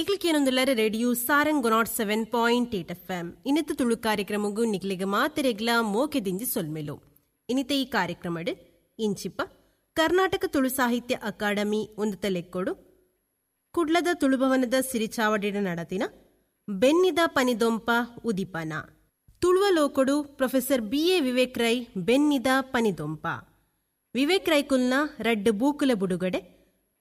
ನಿಕ್ಲಿಕೇನೊಂದುಲ್ಲರ radio Sarang 107.8 FM. ಇನ್ನಿತ Tulu ಕಾರ್ಯಕ್ರಮಗೂ ನಿಕ್ಲಿಗೆ ಮಾತೆರೆಗ್ಲ ಮೋಕೆ ದಿಂಜಿ ಸೊಲ್ಮೆಲು. ಇನ್ನಿತ ಈ ಕಾರ್ಯಕ್ರಮಡ್ ಇಂಚಿಪ ಕರ್ನಾಟಕ ತುಳು ಸಾಹಿತ್ಯ ಅಕಾಡೆಮಿ ಒಂದು ತಲೆಕ್ಕೊಡು ಕುಡ್ಲದ ತುಳುಭವನದ ಸಿರಿಚಾವಡಿಡ ನಡತಿನ ಬೆನ್ನಿದ ಪನಿದೊಂಪ ಉದಿಪನ ತುಳುವ ಲೋಕೊಡು ಪ್ರೊಫೆಸರ್ ಬಿ ಎ ವಿವೇಕ್ ರೈ ಬೆನ್ನಿದ ಪನಿದೊಂಪ ವಿವೇಕ್ ರೈಕುಲ್ನ ರಡ್ಡು ಬೂಕುಲ ಬುಡುಗಡೆ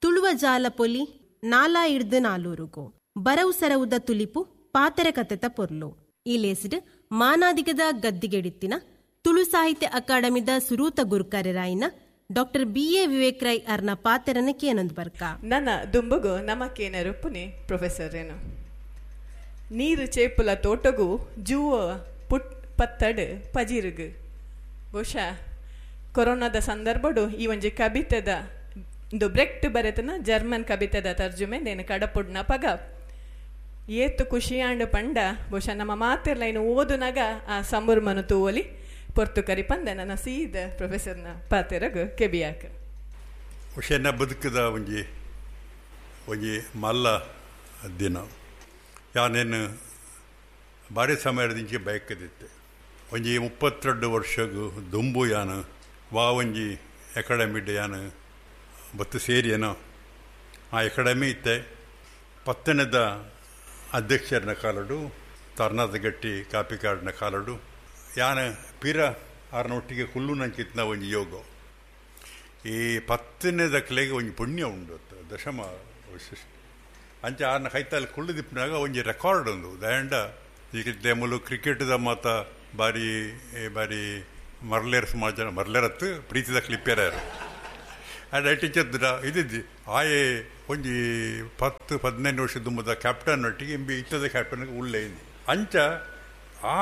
ತುಳುವ ಜಾಲ ಪೊಲಿ ನಾಲಾ ಇಡ್ದು ನಾಲೂರುಗು ಬರವು ಸರವುದ ತುಲಿಪು ಪಾತರ ಕತೆತ ಪೊರ್ಲು. ಈ ಲೇಸಿಡ್ ಮಾನಾದಿಗದ ಗದ್ದಿಗೆಡಿತ್ತಿನ ತುಳು ಸಾಹಿತ್ಯ ಅಕಾಡೆಮಿದ ಸುರೂತ ಗುರುಕಾರ್ಯರಾಯಿನ doctor B A Vivek Rai ಅರ್ನ ಪಾತೆರನ ಕೇನೊಂದು ಬರ್ಕ. ನನ್ನ ದುಂಬುಗು ನಮಕೇನ ರುಪ್ಪುನಿ ಪ್ರೊಫೆಸರ್ ಏನು ನೀರು ಚೇಪುಲ ತೋಟಗು ಜೂವ ಪುಟ್ ಪತ್ತಡು ಪಜಿರುಗು. ಬಹುಶಃ ಕೊರೋನಾದ ಸಂದರ್ಭಡು ಈ ಒಂಜಿ ಕವಿತೆದ ಇಂದು ಬ್ರೆಕ್ಟ್ ಬರೆತನ ಜರ್ಮನ್ ಕವಿತೆದ ತರ್ಜುಮೆ ನೇನು ಕಡಪುಡ್ನ ಪಗ ಏತು ಖುಷಿಯಾಂಡು ಪಂಡ. ಬಹುಶಃ ನಮ್ಮ ಮಾತಿರ್ಲ ಇನ್ನು ಓದುನಾಗ ಆ ಸಂಬುರ್ಮನು ತೂವಲಿ ಪೊರ್ತು ಕರಿ ಪಂದ ನನ್ನ ಸೀದ ಪ್ರೊಫೆಸರ್ನ ಪಾತೆರಗು ಕೆಬಿಯಾಕ. ಹುಷೇನ ಬದುಕದ ಒಂಜಿ ಒಂಜಿ ಮಲ್ಲ ದಿನ. ಯಾನೇನು ಭಾರಿ ಸಮಯದಿಂಚೆ ಬಯಕದಿತ್ತೆ ಒಂಜಿ 32 ವರ್ಷಗು ದುಂಬು ಯಾನು ವಾ ಒಂಜಿ ಅಕಾಡೆಮಿಡ್ ಯಾನು ಬತ್ತು ಸೇರಿಯೇನೋ ಆ ಅಕಾಡೆಮಿ ಇತ್ತೆ ಪತ್ತನದ ಅಧ್ಯಕ್ಷರನ್ನ ಕಾಲಡು ತರ್ನಾದ ಗಟ್ಟಿ ಕಾಪಿಕಾಡಿನ ಕಾಲಡು ಯಾನು ಪೀರ ಆರನೊಟ್ಟಿಗೆ ಕುಲ್ಲು ನಂಚಿತ್ನ ಒಂಜಿ ಯೋಗ. ಈ ಪತ್ತನೇದಕ್ಲೆಗೆ ಒಂಜಿ ಪುಣ್ಯ ಉಂಡು ದಶಮ ವಿಶಿಷ್ಟ ಅಂಚೆ ಆರನ ಕೈತಲ್ಲಿ ಕುಳ್ಳು ದಿಪ್ಪನಾಗ ಒಂಜಿ ರೆಕಾರ್ಡ್ ಉಂದು ದಯಂಡ. ಈಗ ಮೂಲು ಕ್ರಿಕೆಟ್ದ ಮಾತ ಬಾರಿ ಬಾರಿ ಮರ್ಲೇರ್ ಸಮಾಜ ಮರ್ಲೇರತ್ತು ಪ್ರೀತಿದ ಕ್ಲಿಪ್ಪೇರ ಆ್ಯಂಡ್ I ಟೀಚರ್ದ ಇದ್ದಿದ್ದು ಆಯೆ ಒಂಜಿ 10 15 ವರ್ಷ ದುಂಬದ ಕ್ಯಾಪ್ಟನ್ ಒಟ್ಟಿಗೆ ಇಂಬಿ ಇತ್ತದ ಕ್ಯಾಪ್ಟನ್ಗೆ ಉಳ್ಳೆ ಅಂಚ ಆ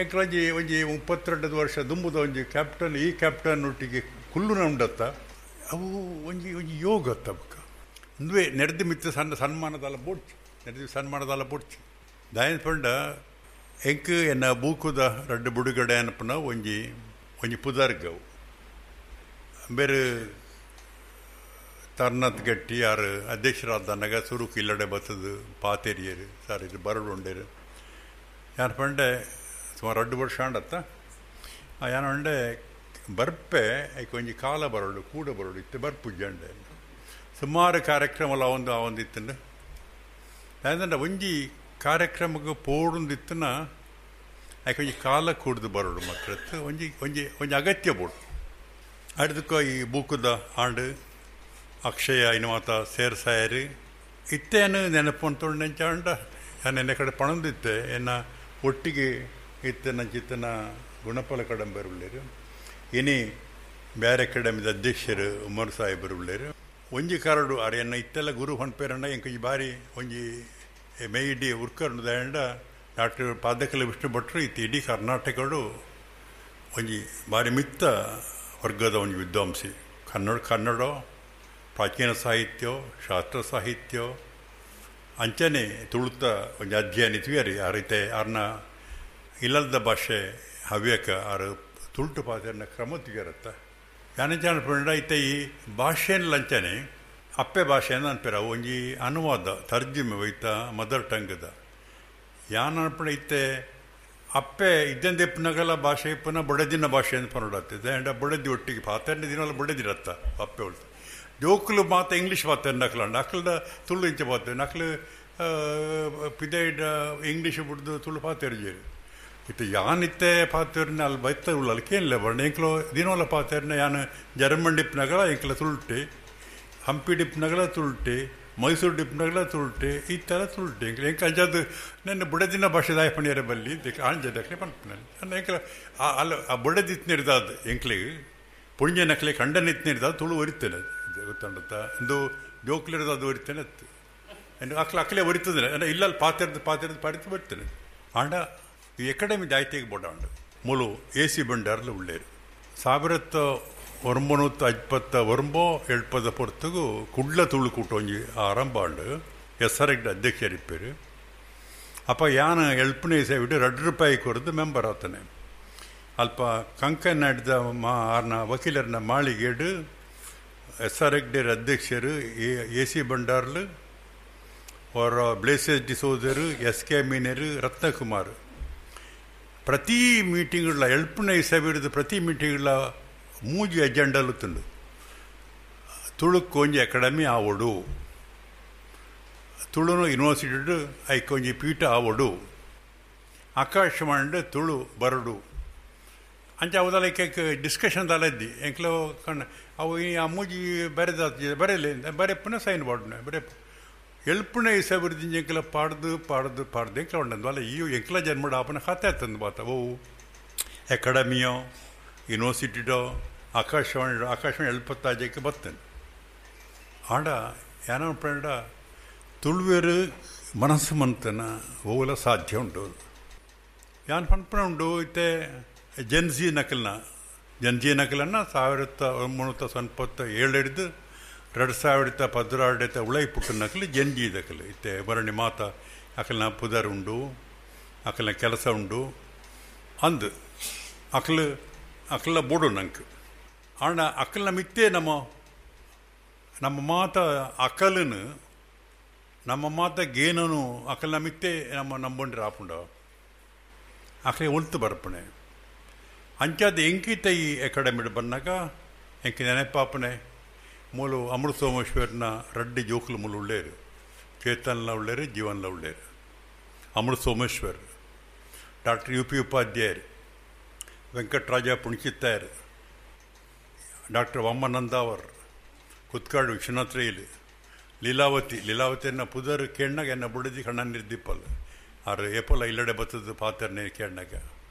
ಎಂಕ್ಲಂಜಿ ಒಂಜಿ 32 ವರ್ಷ ದುಂಬುದ ಒಂಜಿ ಕ್ಯಾಪ್ಟನ್ ಈ ಕ್ಯಾಪ್ಟನ್ ಒಟ್ಟಿಗೆ ಕುಲ್ಲುನ ಉಂಡತ್ತ ಅವು ಒಂಜಿ ಒಂಜಿ ಯೋಗ ತಬಕ ಅಂದುವೆ ನೆರೆದು ಮಿತ್ತ ಸಣ್ಣ ಸನ್ಮಾನದಲ್ಲ ಬೋಡ್ಚು ನೆರೆದು ಸನ್ಮಾನದಲ್ಲ ಬೋಡ್ಚು ದಾಯನ ಪಂಡ ಎಂಕ್ ಎನ್ನ ಬೂಕುದ ರಡ್ಡು ಬುಡುಗಡೆ ಅನ್ಪನ ಒಂಜಿ ಒಂಜಿ ಪುದರ್ಗವು ಬೇರೆ ತರ್ನತ್ ಗಟ್ಟಿ ಯಾರು ಅಧ್ಯಕ್ಷರಾದನಾಗ ಸುರುಕು ಇಲ್ಲಡೆ ಬತ್ತದು ಪಾತೆರಿಯರು ಸರ್ ಇದು ಬರಡು ಉಂಡೇರು ಯಾರು ಪಂಡೆ ಸುಮಾರು 2 ವರ್ಷ ಆಂಡತ್ತ ಯಾನು ಅಂಡೆ ಬರ್ಪೆ ಐಕ್ ಒಂಜಿ ಕಾಲ ಬರಡು ಕೂಡ ಬರಡು ಇತ್ತು ಬರ್ಪುಜ್ಜಂಡೆ ಸುಮಾರು ಕಾರ್ಯಕ್ರಮ ಒಂದು ಆ ಒಂದು ಇತ್ತಂಡು ಯಾಕಂದ್ರೆ ಒಂಜಿ ಕಾರ್ಯಕ್ರಮಕ್ಕೆ ಪೋಡುಂದಿತ್ತನ ಐಕ್ ಒಂಜಿ ಕಾಲ ಕೂಡ್ದು ಬರಡು ಮಾತ್ರ ಒಂಜಿ ಒಂಜಿ ಒಂಜಿ ಅಗತ್ಯ ಬೋಡು. ಅಡ್ದಕ್ಕ ಈ ಬೂಕುದ ಆಂಡು ಅಕ್ಷಯ ಇನ್ನು ಮಾತ ಸೇರ್ಸಾಯರು ಇತ್ತೇನು ನೆನಪು ಅಂತೊಂಡು ಅಂಡ ನಾನು ಎನ್ನ ಕಡೆ ಪಣಂದಿತ್ತೆ ಎನ್ನ ಒಟ್ಟಿಗೆ ಇತ್ತನ ಚಿತ್ತನ ಗುಣಫಲ ಕಡಂಬರುಳ್ಳೇರು ಇನಿ ಬೇರೆ ಅಕಾಡೆಮಿದ ಅಧ್ಯಕ್ಷರು ಉಮರ್ ಸಾಹೇಬರು ಉಳ್ಳೇರು ಒಂಜಿ ಕರಡು ಅರೆ ಎನ್ನ ಇತ್ತೆಲ್ಲ ಗುರು ಹೊನ್ಪೇರಣ್ಣ ಎಂಕ ಈ ಬಾರಿ ಒಂಜಿ ಮೇಯ್ಡಿ ಉರ್ಕರ್ಣ ದಾಂಡ ಡಾಕ್ಟರ್ ಪಾದಕಲ ವಿಷ್ಣು ಭಟ್ರು ಇತ್ತು ಇಡೀ ಕರ್ನಾಟಕಡು ಒಂಜಿ ಬಾರಿ ಮಿತ್ತ ವರ್ಗದ ಒಂಜಿ ವಿದ್ವಾಂಸಿ. ಕನ್ನಡ ಕನ್ನಡ ಪ್ರಾಚೀನ ಸಾಹಿತ್ಯ ಶಾಸ್ತ್ರ ಸಾಹಿತ್ಯ ಅಂಚನೆ ತುಳುತ ಒಂಜಿ ಅಧ್ಯಯನ ಇತ್ವಿಯರಿ ಆ ರೀತಿ ಆರ್ನ ಇಲ್ಲದ ಭಾಷೆ ಹವ್ಯಕ ಆರು ತುಳುಟು ಪಾತೆರ್ನ ಕ್ರಮ ತಿಗರತ್ತ ಯಾನಂಚಾನ ಪಂಡ ಇತ್ತೆ ಈ ಭಾಷೆನ ಲಂಚನೆ ಅಪ್ಪೆ ಭಾಷೆನ ಅನ್ಪೇರ ಒಂಜಿ ಅನುವಾದ ತರ್ಜುಮೆ ಒಯ್ತ ಮದರ್ ಟಂಗ್ದ ಯಾನ ಅನ್ಪಣ ಇತ್ತೆ ಅಪ್ಪೆ ಇದ್ದಂದೆ ಇಪ್ಪನಗಲ ಭಾಷೆ ಇಪ್ಪನ ಬಡದಿನ ಭಾಷೆ ಅಂತ ಪನ್ನೊಡತ್ತಿದೆ ಆ್ಯಂಡ್ ಬಡದಿ ಒಟ್ಟಿಗೆ ಪಾತೆರ್ನ ದಿನವಲ್ಲ ಬಡದಿರತ್ತ ಅಪ್ಪೆ ಉಳ್ತ ಜೋಕುಲು ಮಾತ ಇಂಗ್ಲೀಷ್ ಮಾತಾಡ ನಕ್ಲಂಡ ಅಕ್ಲದ ತುಳು ಇಂಚ ಪಾತೆ ನಕ್ಲು ಪಿದೈಡ ಇಂಗ್ಲೀಷ್ ಬಿಡ್ದು ತುಳು ಪಾತೆರ್ಜೇರು ಇತ್ತು ಯಾನಿತ್ತೆ ಪಾತೆರ್ನ ಅಲ್ಲಿ ಬೈತ ಉಳ್ಳ ಅಲ್ಲಿ ಕೇಳಲ್ಲ ಬಣ್ಣ ಎಂಕ್ಲೋ ದಿನವಲ್ಲ ಪಾತೆರ್ನ ಯಾನು ಜರ್ಮನ್ ಡಿಪ್ನಗಳ ಎಂಕ್ಲ ತುಳುಟಿ ಹಂಪಿ ಡಿಪ್ನಗಳ ತುಳುಟಿ ಮೈಸೂರು ಡಿಪ್ನಗಳ ತುಳುಟಿ ಈ ಥರ ತುಳುಟಿ ಎಂಕ್ಲ ಎಂಕ ಅಂಜಾದು ನನ್ನ ಬುಡದಿನ ಭಾಷೆ ದಾಯ ಪಣಿಯರ ಬಲ್ಲಿ ಆಂಜದಕ್ಲೆ ಪನ್ಪನ ನನ್ನ ಎಂಕ್ಲ ಅಲ್ಲ ಆ ಬುಡದಿತ್ನಿರ್ದಾದ ಎಂಕ್ಲಿಗೆ ಪುಣ್ಯ ನಕ್ಲೆ ಕಂಡನಿತ್ನಿರ್ದಾದ ತುಳು ಒರಿತೇನೆ ಗೊತ್ತಂಡತ್ತ ಇಂದು ಜೋಕ್ಲಿರೋದು ಅದು ಒರಿತೇನೆ ಅತ್ತು ಅಕ್ಲ ಅಕ್ಲೆ ಒರಿತದೆ ಅಂದರೆ ಇಲ್ಲಲ್ಲಿ ಪಾತೆರ್ದು ಪಾತೆರ್ದು ಪಾಡಿತು ಬರ್ತೇನೆ ಆಂಡ ಈ ಅಕಾಡೆಮಿ ಜಾಯ್ತಿಗೆ ಬೋಡಾಂಡು ಮೂಲು ಎ ಸಿ ಬಂಡಾರ್ಲು ಉಳ್ಳೇರು 1929 70 ಪೊರ್ತುಗು ಕುಡ್ಲ ತುಳು ಕೂಟ ಒಂಜಿ ಆರಂಭ ಆಂಡು ಎಸ್ ಆರ್ ಎಗ್ ಅಧ್ಯಕ್ಷರಿಪ್ಪೇರು. ಅಪ್ಪ ಯಾನ ಎಲ್ಪನೇ ಸೇವಿಟ್ಟು 2 ರೂಪಾಯಿ ಕೊರದು ಮೆಂಬರ್ ಆತನೆ. ಅಲ್ಪ ಕಂಕನಾಡಿದ ಮಾ ಆರ್ನ ವಕೀಲರನ್ನ ಮಾಳಿಗೇಡು ಎಸ್ ಆರ್ ಹೆಗ್ಡೇರ್ ಅಧ್ಯಕ್ಷರು ಎ ಸಿ ಬಂಡಾರ್ಲು ಅವರ ಬ್ಲೇಸಸ್ ಡಿಸೋದರು, ಎಸ್ ಕೆ ಮೀನರು, ರತ್ನಕುಮಾರ್. ಪ್ರತಿ ಮೀಟಿಂಗ್ಗಳ ಎಲ್ಪುನ ಇಸವಿಡ್ದು ಪ್ರತಿ ಮೀಟಿಂಗ್ಗಳ ಮೂಜಿ ಎಜೆಂಡಲು ತುಂಡು. ತುಳುಕು ಒಂಜಿ ಅಕಾಡೆಮಿ ಆವೊಡು, ತುಳುನು ಯೂನಿವರ್ಸಿಟಿ ಐಕೊಂಜಿ ಪೀಠ ಆವೊಡು, ಆಕಾಶವಾಣಿ ತುಳು ಬರಡು ಅಂಚ ಅವದಲ್ಲ ಡಿಸ್ಕಷನ್ ದಾಲದ್ದಿ ಎಂಕ್ಲ ಕಣ್ಣ ಅವು ಈ ಆ ಮೂಜಿ ಬರೆದ ಬರೆಯಲಿ ಬರೆಪ್ಪುನ ಸೈನ್ ಬಾಡ್ನೆ ಬರೆಪ್ಪ ಎಲ್ಪುನ ಇಸಬಿಡ್ದು ಎಂಕ್ಲ ಪಾಡ್ದು ಪಾಡ್ದು ಪಾಡ್ದು ಎಂಕ್ಲ ಉಂಡಂದು ಅಲ್ಲ ಈ ಎಂಕ್ಲ ಜನ್ಮಡ ಆಪನ ಖಾತೆ ಆತಂದು ಬಾತ ಓ ಅಕಾಡೆಮಿಯೋ ಯೂನಿವರ್ಸಿಟಿಡೋ ಆಕಾಶವಾಣಿ ಆಕಾಶವಾಣಿ ಎಲ್ಪತ್ತಾಜಕ್ಕೆ ಬರ್ತೇನೆ. ಆಂಡ ಏನೋ ಪಂಡ ತುಳುವೇರು ಮನಸ್ಸು ಮಂತನ ಓಲ ಸಾಧ್ಯ ಉಂಟು. ಯಾನ್ ಪನ್ಪನ ಉಂಡು ಇತ್ತೆ ಜನ್ಜಿ ನಕಲ್ನ ಜನ್ಜಿ ನಕಲನ್ನು 1997 ಹಿಡಿದು 2012 ಉಳೈ ಪುಟ್ಟ ನಕಲು ಜನ್ಜಿ ದಕಲು ಇತ್ತೆ ಬರಣಿ ಮಾತ ಅಕಲ್ನ ಪುದರ್ ಉಂಡು, ಅಕಲ್ನ ಕೆಲಸ ಉಂಡು ಅಂದು ಅಕಲು ಅಕಲ ಬೋಡು ನಂಗೆ. ಆಂಡ ಅಕಲ್ನ ಮಿತ್ತೇ ನಮ್ಮ ನಮ್ಮ ಮಾತ ಅಕಲನು ನಮ್ಮ ಮಾತ ಗೇನನು ಅಕಲ್ನ ಮಿತ್ತೇ ನಮ್ಮ ನಂಬೊಂಡ್ರೆ ಆಪುಂಡ ಅಕಲೆ ಒಲ್ತು ಬರಪಣೆ. ಅಂಚಾದ ಎಂಕಿತ ಈ ಅಕಾಡೆಮಿ ಬಂದಾಗ ಎಂಕಿ ನೆನಪಾಪನೆ ಮೂಲು ಅಮೃತ ಸೋಮೇಶ್ವರನ ರಡ್ಡಿ ಜೋಕುಲು ಮೂಲು ಉಳ್ಳೇರು, ಚೇತನ್ಲ ಉಳ್ಳೇರು, ಜೀವನ್ಲ ಉಳ್ಳೇರು. Amrutha Someshwar, doctor U P ಉಪಾಧ್ಯಾಯರು, ವೆಂಕಟರಾಜ ಪುಣಚಿತ್ತಾಯರು, ಡಾಕ್ಟರ್ ವಾಮನಂದಾವರ್, ಕುತ್ಕಾಡು ವಿಶ್ವನಾಥ್ ರೈಲ್, ಲೀಲಾವತಿ ಲೀಲಾವತಿಯನ್ನು ಪುದರ್ ಕೇಣ್ಣಾಗ ಎನ್ನ ಬುಡದಿ ಕಣ್ಣ ನಿರ್ದಿಪ್ಪಲ್ಲ ಆರು ಏಪೋಲ ಇಲ್ಲಡೆ ಬತ್ತದ ಪಾತ್ರನೇ ಕೇಣ್ಣಾಗ.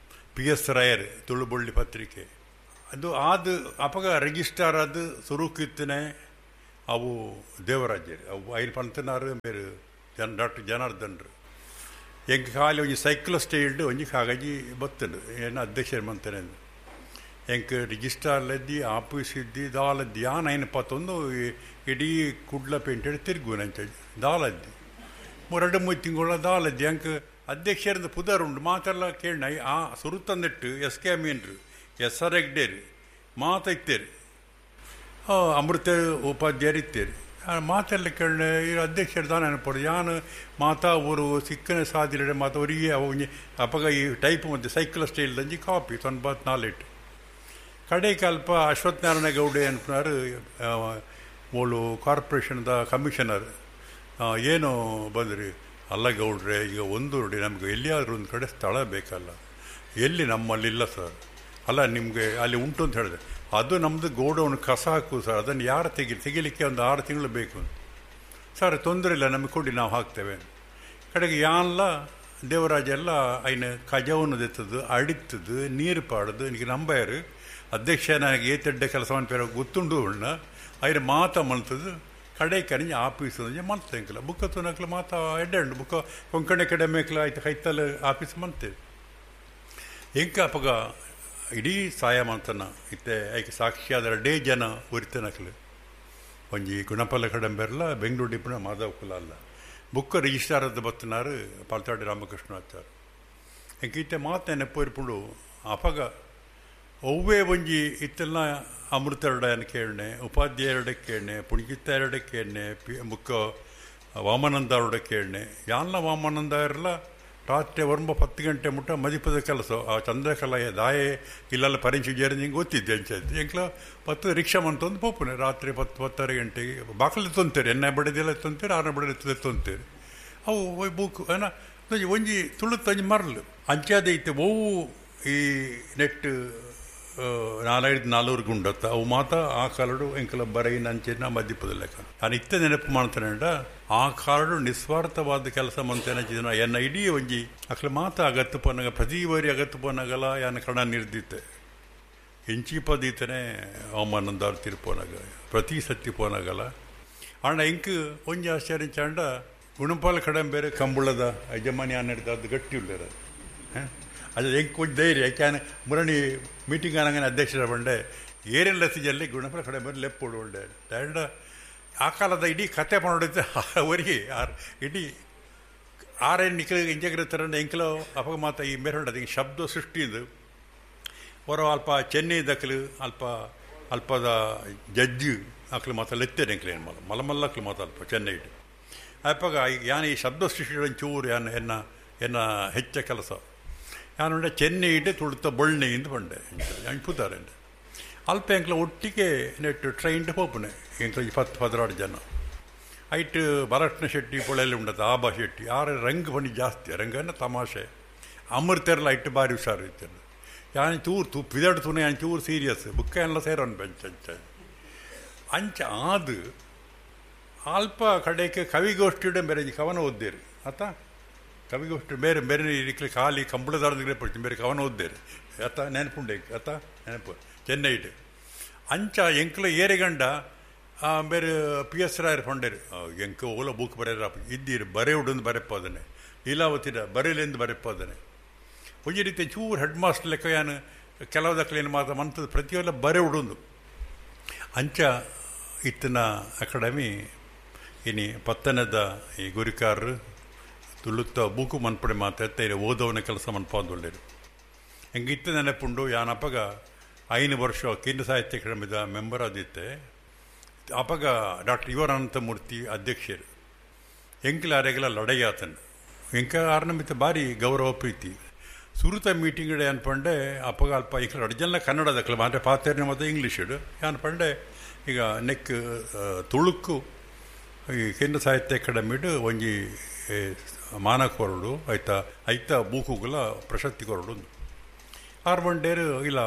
ಪಿ ಎಸ್ ರಾಯರ್ ತುಳುಬೊಳ್ಳಿ ಪತ್ರಿಕೆ ಅದು ಆದು ಅಪಗ ರಿಜಿಸ್ಟಾರ್ ಅದು ಸುರುಕಿತ್ತನೆ ಅವು ದೇವರಾಜ್ಯರು ಅವು ಐನು ಪಂತನಾರು ಬೇರೆ ಜನ ಡಾಕ್ಟರ್ ಜನಾರ್ದನ್ರು. ಎಂಕ್ ಖಾಲಿ ಒಂಜಿ ಸೈಕ್ಲ ಸ್ಟೈಲ್ಡ್ ಒಂಜಿ ಕಾಗಜಿ ಬತ್ತಂಡು ಏನು ಅಧ್ಯಕ್ಷರು ಮಂತನೆ ಎಂಕ್ ರಿಜಿಸ್ಟಾರ್ಲದ್ದಿ ಆಫೀಸ್ ಇದ್ದಿ ದಾಲದ್ದಿ ಯಾನ್ ಐನು ಪತ್ತೊಂದು ಇಡೀ ಕುಡ್ಲ ಪೇಂಟೆಡ್ ತಿರುಗು ನಂಚ ದಾಲದ್ದಿ 2-3 ತಿಂಗಳ ದಾಲದ್ದಿ ಅಂಕ್ ಅಧ್ಯಕ್ಷರಿಂದ ಪುದರ್ ಉಂಡು ಮಾತೆಲ್ಲ ಕೇಳ್ ಆ ಸುರುತಂದಿಟ್ಟು ಎಸ್ ಕೆ ಮೀನ್ರು, ಎಸ್ ಆರ್ ಹೆಗ್ಡೇರು ಮಾತ ಇತ್ತೇರು, ಅಮೃತ ಉಪಾಧ್ಯಾಯರು ಇತ್ತೇರು. ಮಾತೆಲ್ಲ ಕೇಳ ಈ ಅಧ್ಯಕ್ಷರು ದಾನ ನೆನಪಡು ಯಾನು ಮಾತಾ ಊರು ಸಿಕ್ಕನ ಸಾದಿಲೆ ಮಾತ ಅವರಿಗೆ ಅವು ಅಪಗ ಈ ಟೈಪ್ ಮತ್ತು ಸೈಕಲ್ ಸ್ಟೈಲ್ ದಂಜಿ ಕಾಪಿ 94 ಕಡೆಗೆ ಅಲ್ಪ ಅಶ್ವತ್ಥನಾರಾಯಣ ಗೌಡೆ ಅನ್ಪನಾರು ಮೂಲು ಕಾರ್ಪೊರೇಷನ್ದ ಕಮಿಷನರ್ ಏನು ಬಂದ್ರಿ ಅಲ್ಲ ಗೌಡ್ರೆ, ಈಗ ಒಂದು ನೋಡಿ ನಮಗೆ ಎಲ್ಲಿಯಾದರೂ ಒಂದು ಕಡೆ ಸ್ಥಳ ಬೇಕಲ್ಲ, ಎಲ್ಲಿ ನಮ್ಮಲ್ಲಿಲ್ಲ ಸರ್. ಅಲ್ಲ ನಿಮಗೆ ಅಲ್ಲಿ ಉಂಟು ಅಂತ ಹೇಳಿದೆ, ಅದು ನಮ್ಮದು ಗೋಡೌನ್ ಕಸ ಹಾಕು ಸರ್, ಅದನ್ನು ಯಾರು ತೆಗಿಲಿಕ್ಕೆ ಒಂದು 6 ತಿಂಗಳು ಬೇಕು ಸರ್, ತೊಂದರೆ ಇಲ್ಲ ನಮಗೆ ಕೊಡಿ ನಾವು ಹಾಕ್ತೇವೆ. ಕಡೆಗೆ ಯಾನ್ಲ ದೇವರಾಜ ಎಲ್ಲ ಐನ ಕಜವನ್ನು ದೆತ್ತದು ಅಡಿತದ್ದು ನೀರು ಪಾಡೋದು എനിക്ക് ನಂಬಾರು ಅಧ್ಯಕ್ಷ ನನಗೆ ಏತೆಡ್ಡೆ ಕೆಲಸವನ್ನು ಪೇರ ಗೊತ್ತುಂಡು ಉಣ್ಣ ಐನ ಮಾತ ಮಲ್ತದ್ದು ಕಡೆ ಕಣಿಂಜ ಆಫೀಸ್ ಮಲ್ತ ಎಂಕಲ ಬುಕ್ಕ ತುನಕ್ಲ ಮಾತ ಎಡ್ಡೆ ಉಂಡು ಬುಕ್ಕ ಕೊಂಕಣಿ ಕಡೆ ಮೇಕಲ ಆಯ್ತು ಕೈತಲ್ ಆಫೀಸ್ ಮಂತೇವೆ. ಎಂಕ ಅಪಗ ಇಡೀ ಸಾಯ ಮಂತನ ಇತ್ತೆ ಐಕೆ ಸಾಕ್ಷಿಯಾದ ರಡ್ಡೇ ಜನ ಒರಿತನಕ್ಲು ಒಂಜಿ ಗುಣಪಲ್ಲ ಕಡಂಬೆರ್ಲ ಬೆಂಗಳೂರು ಡಿಪುಣ ಮಾಧವ ಕುಲ ಅಲ್ಲ ಬುಕ್ಕ ರಿಜಿಸ್ಟ್ರಾರ್ ಅದ ಬತ್ತನಾರು ಪಾಲ್ತಾಡಿ ರಾಮಕೃಷ್ಣ ಆಚಾರ್. ಎಂಕ ಇತ್ತೆ ಮಾತು ನೆನಪು ಅಪಗ ಒವ್ವೇ ಒಂಜಿ ಇತ್ತೆಲ್ಲ ಅಮೃತರಡನ ಕೇಳನೆ, ಉಪಾಧ್ಯಾಯರಡ ಕೇಳನೆ, ಪುಣ್ಕಿತ್ತಾಯರಡ ಕೇಳನೆ, ಪಿ ಬುಕ್ಕ ವಾಮನಂದರಡ ಕೇಳನೆ. ಯಾನ್ಲ ವಾಮಾನಂದ ಇರಲ್ಲ ರಾತ್ರಿ 9-10 ಗಂಟೆ ಮುಟ್ಟ ಮದಿಪದ ಕೆಲಸ ಆ ಚಂದ್ರಕಲಾ ದಾಯೆ ಇಲ್ಲೆಲ್ಲ ಪರೀಕ್ಷೆ ಜೇರಿ ಹಿಂಗೆ ಗೊತ್ತಿದ್ದೆ ಅಂಚೆ ಎಂಕ್ಲ 10 ರಿಕ್ಷಾ ಮಂತೊಂದು ಪೋಪುನೆ ರಾತ್ರಿ 10-10:30 ಗಂಟೆಗೆ ಬಾಕಲಿ ತೊಂತೇರಿ, ಎಣ್ಣೆ ಬಡದಿಲ್ಲ ತೊಂತೇರಿ, ಆರನೇ ಬಡದಿ ತೊಂತೇರಿ. ಅವು ಬುಕ್ ಏನ ಒಂಜಿ ತುಳುತ್ತಂಜಿ ಮರಲು ಅಂಚಾದ ಇತ್ತೆ ಒವು ಈ ನೆಟ್ 4-5 4 ಗುಂಡತ್ತ ಅವು ಮಾತ ಆ ಕಾಲಡು ಎಂಕಲ ಬರೈನ ಅಂಚಿನ ಮದ್ದಿಪದ ಲೆಕ್ಕ. ನಾನು ಇತ್ತ ನೆನಪು ಮಾಡ್ತೇನೆ ಆ ಕಾಲಡು ನಿಸ್ವಾರ್ಥವಾದ ಕೆಲಸ ಮಂತೇನ ಎನ್ನ ಇಡೀ ಒಂಜಿ ಅಕ್ಲ ಮಾತ ಅಗತ್ತು ಪೋನಾಗ ಪ್ರತಿ ಬಾರಿ ಅಗತ್ತು ಪೋನಾಗಲ್ಲ ಯಾನ ಕಣ ನಿರ್ದಿತ್ತೆ ಎಂಚಿ ಪದೀತನೆ ಅವಮಾನಂದಾರು ತಿರ್ಪೋನಾಗ ಪ್ರತಿ ಸತ್ತಿ ಪೋನಾಗಲ್ಲ. ಆಂಡ ಎಂಕ್ ಒಂಜಿ ಆಶ್ಚರ್ಯ ಚಾಂಡ ಗುಣಪಾಲ ಕಡಂಬೇರೆ ಕಂಬುಳದ ಯಜಮಾನಿ ಆನ ಅದು ಗಟ್ಟಿ ಉಳ್ಳೇರ ಅದು ಎಂಕ್ ಒಂಜಿ ಧೈರ್ಯ ಯಾಕೆ ಮುರಣಿ ಮೀಟಿಂಗ್ ಆನಂಗನೆ ಅಧ್ಯಕ್ಷರ ಬಂಡೆ ಏರೆಲ್ಲ ಸಿಜಲ್ಲಿ ಗುಣಪಾಲ ಕಡಂಬೇರೆ ಲೆಪ್ಪೋಡು ಉಂಡೆ ದಂಡ ಆ ಕಾಲದ ಇಡೀ ಕತೆ ಪಣೋಡಿದ್ದೆ ಅವರಿಗೆ ಆರ್ ಇಡೀ ಆರೇನು ನಿಖಲ ಇಂಜಗಿರ್ತಾರೆ ಎಂಕಲೋ ಅಪಗ ಮಾತ ಈ ಮೇರೆ ಹಿಂಗೆ ಶಬ್ದ ಸೃಷ್ಟಿದು ಹೊರ ಅಲ್ಪ ಚೆನ್ನೈ ದಕ್ಕಲು ಅಲ್ಪ ಅಲ್ಪದ ಜಡ್ಜು ಅಕ್ಲು ಮಾತ ಲೆತ್ತೇನೆ ಎಂಕಲು ಏನು ಮಲ ಮಲಮಲ್ಲಕ್ಲು ಮಾತ ಅಲ್ಪ ಚೆನ್ನೈ ಇಟ್ಟು ಅಪ್ಪಗ ಯಾನ್ ಈ ಶಬ್ದ ಸೃಷ್ಟಿ ಚೂರು ಯಾನ್ ಎನ್ನ ಎನ್ನ ಹೆಚ್ಚ ಕೆಲಸ ಯಾನುಂಡೆ ಚೆನ್ನೈಟ್ ತುಳುತ ಬೊಳ್ಳೆ ಇಂದು ಪಂಡೆ ಪುತಾರೆ ಅಲ್ಪ ಎಂಕ್ಲ ಒಟ್ಟಿಗೆ ನೆಟ್ಟು ಟ್ರೈನ್ ಪೋಪುನೆ ಎಂಕ್ಲ 10 16 ಜನ ಐಟ್ ಬಾಲಕೃಷ್ಣ ಶೆಟ್ಟಿ ಪೊಳೆಯಲ್ಲಿ ಉಂಡತ್ತ ಆಬಾ ಶೆಟ್ಟಿ ಆರ ರಂಗ್ ಬಣ್ಣಿ ಜಾಸ್ತಿ ರಂಗನ ತಮಾಷೆ ಅಮೃತೆರ್ಲ ಐಟ್ ಬಾರಿ ಹುಷಾರು ಇತ್ತೆಲ್ಲ ಯಾನ್ ಚೂರು ತೂ ಪಿದಾಡು ತೂನೆ ಯಾನ್ ಚೂರು ಸೀರಿಯಸ್ ಬುಕ್ಕ ಎಲ್ಲ ಸೇರೋನ್ ಬೆಂಚ್ ಅಂಚ ಅಂಚ ಆದು ಅಲ್ಪ ಕಡೆಗೆ ಕವಿಗೋಷ್ಠಿಡೆ ಬೇರೆ ಕವನ ಓದ್ದೇರು ಆತ ಕವಿಗೋಷ್ಠಿ ಬೇರೆ ಬೇರೆ ಇಕ್ಲೆ ಖಾಲಿ ಕಂಬಳದಾರದಿಗೆ ಪಡ್ತೀನಿ ಬೇರೆ ಕವನ ಓದ್ದೇರು ಆತ ನೆನಪುಂಡೆ ಆತ ನೆನಪು ಚೆನ್ನೈಟ್ ಅಂಚ ಎಂಕ್ಲ ಏರೆಗಂಡ ಬೇರೆ ಪಿ ಎಸ್ ರಾಯರ್ ಫಂಡೇರು ಎಂಕ ಓಲ ಬುಕ್ ಬರೆಯರ ಇದ್ದೀರು ಬರೆಯುಡೊಂದು ಬರೆಪ್ಪಾದನೆ ಲೀಲಾವತಿರ ಬರೆಯಲೆಂದು ಬರೆಪ್ಪಾದನೆ ಒಂಜಿ ರೀತಿ ಚೂರು ಹೆಡ್ ಮಾಸ್ಟರ್ ಲೆಕ್ಕ ಯಾನು ಕೆಲವು ದಕ್ಕಲೇನು ಮಾತ್ರ ಮಂತದ ಪ್ರತಿಯೊಲ್ಲ ಬರೆಯುಡೊಂದು ಅಂಚ ಇತ್ತಿನ ಅಕಾಡೆಮಿ ಇನಿ ಪತ್ತನದ ಈ ಗುರಿಕಾರರು ತುಳುತ್ತ ಬೂಕು ಮನ್ಪಡೆ ಮಾತಾಡ್ತಾ ಓದವನ ಕೆಲಸ ಮನ್ಪಾಂದೊಳ್ಳೇರು ಹೆಂಗೆ ಇತ್ತ ನೆನಪುಂಡು ಯಾನಪ್ಪಗ 5 ವರ್ಷ ಕೇಂದ್ರ ಸಾಹಿತ್ಯ ಅಕಾಡೆಮಿದ ಮೆಂಬರ್ ಆದಿತ್ತೆ ಅಪಗ ಡಾಕ್ಟರ್ ಇವರ ಅನಂತಮೂರ್ತಿ ಅಧ್ಯಕ್ಷರು ಎಂಕ್ಲ ಅರೆಗಲ ಲಡೈಯಾತನ್ ಎಂಕ ಆರ್ನಮಿತ ಭಾರಿ ಗೌರವ ಪ್ರೀತಿ ಸುರುತ ಮೀಟಿಂಗ್ ಅನ್ಪಂಡೆ ಅಪಗ ಅಲ್ಪ ಎಂಕ್ಲ ಅಡ್ಜಲ್ಲ ಕನ್ನಡದಕ್ಲ ಮಾತ್ರ ಪಾತೇರ್ನ ಮತ್ತು ಇಂಗ್ಲೀಷ್ ಅನ್ಪಂಡೆ ಈಗ ನೆಕ್ ತುಳುಕು ಈ ಕೇಂದ್ರ ಸಾಹಿತ್ಯ ಅಕಾಡೆಮಿಡು ಒಂಜಿ ಮಾನ ಕೊರಡು ಆಯ್ತಾ ಐತ ಬೂಕುಗಳ ಪ್ರಶಸ್ತಿ ಕೊರಡು ಆರು ಬಂಡೇರು ಇಲ್ಲ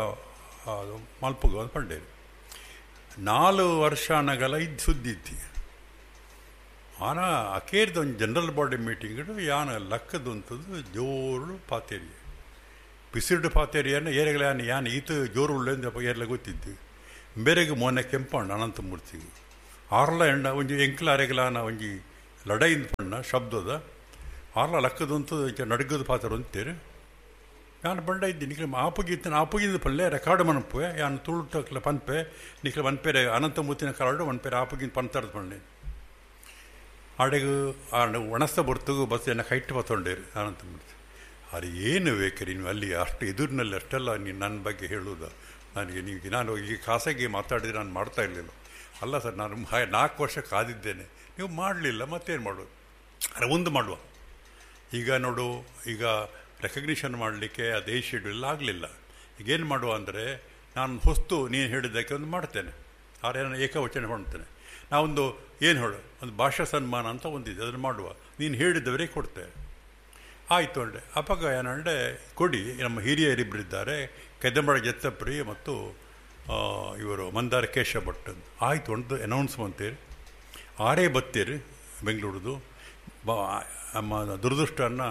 ಮಲ್ಪುಗ ಒಂದು ಪಂಡೇರು 4 ವರ್ಷ ಅನಗಲ ಇದು ಸುದ್ದಿ ಇತ್ತಿ ಆನ ಅಕೇರ್ದ ಒಂದು ಜನರಲ್ ಬಾಡಿ ಮೀಟಿಂಗ್ ಯಾನ ಲಕ್ಕದಂಥದ್ದು ಜೋರು ಪಾತೇರಿ ಪಿಸಿರ್ಡು ಪಾತೇರಿಯನ್ನು ಏರೆಗಳ ಯಾನ ಯಾನ ಈತ ಜೋರು ಉಳ್ಳೆಂದು ಏರ್ಲ ಗೊತ್ತಿದ್ದು ಬೇರೆಗೆ ಮೊನ್ನೆ ಕೆಂಪಣ್ಣ ಅನಂತಮೂರ್ತಿಗೆ ಆರ್ಲ ಎಂಡ ಒಂಜಿ ಎಂಕ್ಲ ಅರೆಗಲಾನ ಒಂಜಿ ಲಡೈಂದ ಪಣ್ಣ ಶಬ್ದದ ಆರ್ಲ ಲಕ್ಕದಂಥದ್ದು ನಡ್ಗದ ಪಾತ್ರ ಅಂತೀರಿ ಯಾನ್ ಬಂಡ ಇದ್ದಿ ನಿಕ್ಲೆ ಆಪುಗಿತ್ತನ ಆಪುಗಿಂದ ಪಲ್ಲೆ ರೆಕಾರ್ಡ್ ಮನಪುವೆ ಯಾನ್ ತುಳುಟಕ್ಲ ಪನ್ಪೆ ನಿಕ್ಲೆ ಒನ್ಪೇರೆ ಅನಂತಮೂರ್ತಿನ ಕಾರಡು ಒನ್ಪೇರೆ ಆಪುಗಿಂದ ಪಂತರ್ದು ಪಂಡೆ ಆಡೆಗು ಆಡ ಒಣಸ್ತ ಬರ್ತಗು ಬಸ್ ಎನ್ನ ಕೈಟ್ಟು ಬತ್ತೊಂಡೇರು ಅನಂತಮೂರ್ತಿ ಅದು ಏನು ಬೇಕ್ರಿ ನೀವು ಅಲ್ಲಿ ಅಷ್ಟು ಎದುರಿನಲ್ಲಿ ಅಷ್ಟೆಲ್ಲ ನೀನು ನನ್ನ ಬಗ್ಗೆ ಹೇಳುವುದ ನನಗೆ ನೀವು ನಾನು ಈಗ ಖಾಸಗಿ ಮಾತಾಡಿದರೆ ನಾನು ಮಾಡ್ತಾ ಇರಲಿಲ್ಲ ಅಲ್ಲ ಸರ್ ನಾನು 4 ವರ್ಷ ಕಾದಿದ್ದೇನೆ ನೀವು ಮಾಡಲಿಲ್ಲ ಮತ್ತೇನು ಮಾಡೋದು ಅರೆ ಒಂದು ಮಾಡುವ ಈಗ ನೋಡು ಈಗ ರೆಕಗ್ನಿಷನ್ ಮಾಡಲಿಕ್ಕೆ ಅದೇ ಶೆಡ್ಯೂಲ್ ಆಗಲಿಲ್ಲ ಈಗೇನು ಮಾಡುವ ಅಂದರೆ ನಾನು ಹೊಸ್ತು ನೀನು ಹೇಳಿದ್ದಕ್ಕೆ ಒಂದು ಮಾಡ್ತೇನೆ ಆದರೆ ನಾನು ಏಕವಚನ ಮಾಡ್ತೇನೆ ನಾವೊಂದು ಏನು ಹೇಳು ಒಂದು ಭಾಷಾ ಸನ್ಮಾನ ಅಂತ ಒಂದಿದೆ ಅದನ್ನು ಮಾಡುವ ನೀನು ಹೇಳಿದವರೇ ಕೊಡ್ತೇನೆ ಆಯಿತು ಅಂಡೆ ಅಪಗ ಏನಂಡೆ ಕೊಡಿ ನಮ್ಮ ಹಿರಿಯರಿಬ್ಬರಿದ್ದಾರೆ ಕೆದಂಬಳ ಜತ್ತಪ್ರಿ ಮತ್ತು ಇವರು ಮಂದಾರ ಕೇಶವ ಭಟ್ ಅಂತ ಆಯಿತು ಒಂದು ಅನೌನ್ಸ್ ಅಂತೀರಿ ಆರೇ ಬತ್ತೀರಿ ಬೆಂಗಳೂರದು ಬಾ ನಮ್ಮ ದುರದೃಷ್ಟನ್ನು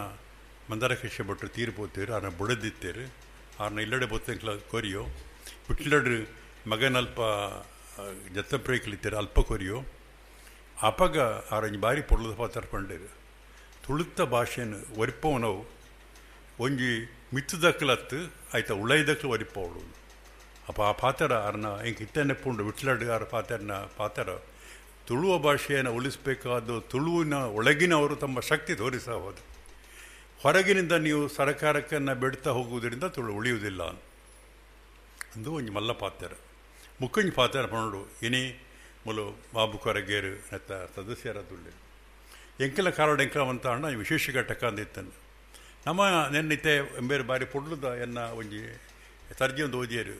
ಮಂದಾರ ಕೇಶವ ಭಟ್ರು ತೀರ್ಪೋತೀರು ಆರನ್ನ ಬುಡದಿತ್ತೀರಿ ಆರನ್ನ ಇಲ್ಲಡೆ ಬೊತ್ತಂಕ್ಲ ಕೊರಿಯೋ ಬಿಟ್ಲಡ್ರು ಮಗನಲ್ಪ ಜತ್ತಪ್ರಿ ಕಲಿತೀರಿ ಅಲ್ಪ ಕೊರಿಯೋ ಅಪಗ ಆರಂಜಿ ಬಾರಿ ಪೊರ್ಲದ ಪಾತ್ರ ಪಂಡೇರು ತುಳುತ್ತ ಭಾಷೆಯನ್ನು ಒರಿಪವನವು ಒಂಜಿ ಮಿತ್ತದಕ್ಕಲತ್ತು ಆಯ್ತಾ ಉಳೈದಕ್ಕಲು ಒರಿಪವಳು ಅಪ್ಪ ಆ ಪಾತ್ರ ಅರ್ನ ಹಿಂಗೆ ಇತ್ತನೆ ಪುಂಡು ವಿಟ್ಲಡ್ ಆರ ಪಾತ್ರನ ಪಾತ್ರ ತುಳುವ ಭಾಷೆಯನ್ನು ಉಳಿಸಬೇಕಾದ ತುಳುವಿನ ಒಳಗಿನವರು ತಮ್ಮ ಶಕ್ತಿ ತೋರಿಸಬಹುದು. ಹೊರಗಿನಿಂದ ನೀವು ಸರಕಾರಕ್ಕನ್ನು ಬೆಡ್ತಾ ಹೋಗುವುದರಿಂದ ತುಳು ಉಳಿಯುವುದಿಲ್ಲ ಅಂದು ಒಂಜಿ ಮಲ್ಲ ಪಾತ್ರ ಮುಕ್ಕಂಜಿ ಪಾತ್ರ ಪಂಡು ಇನಿ ಮುಲು ಬಾಬು ಕೊರಗೇರು ನೆತ್ತ ಸದಸ್ಯರ ತುಳ್ಳಿ ಎಂಕೆಲ ಕಾರಡ ಎಂಕಲ ಅಂತ ಅಣ್ಣ ವಿಶೇಷ ಘಟಕ ಅಂದಿತ್ತನು ನಮ್ಮ ನೆನ್ನಿತೆ ಎಂಬೇರು ಬಾರಿ ಪೊಡ್ಲುದ ಎನ್ನ ಒಂಜಿ ತರ್ಜಿ ಒಂದು ಓದಿಯರು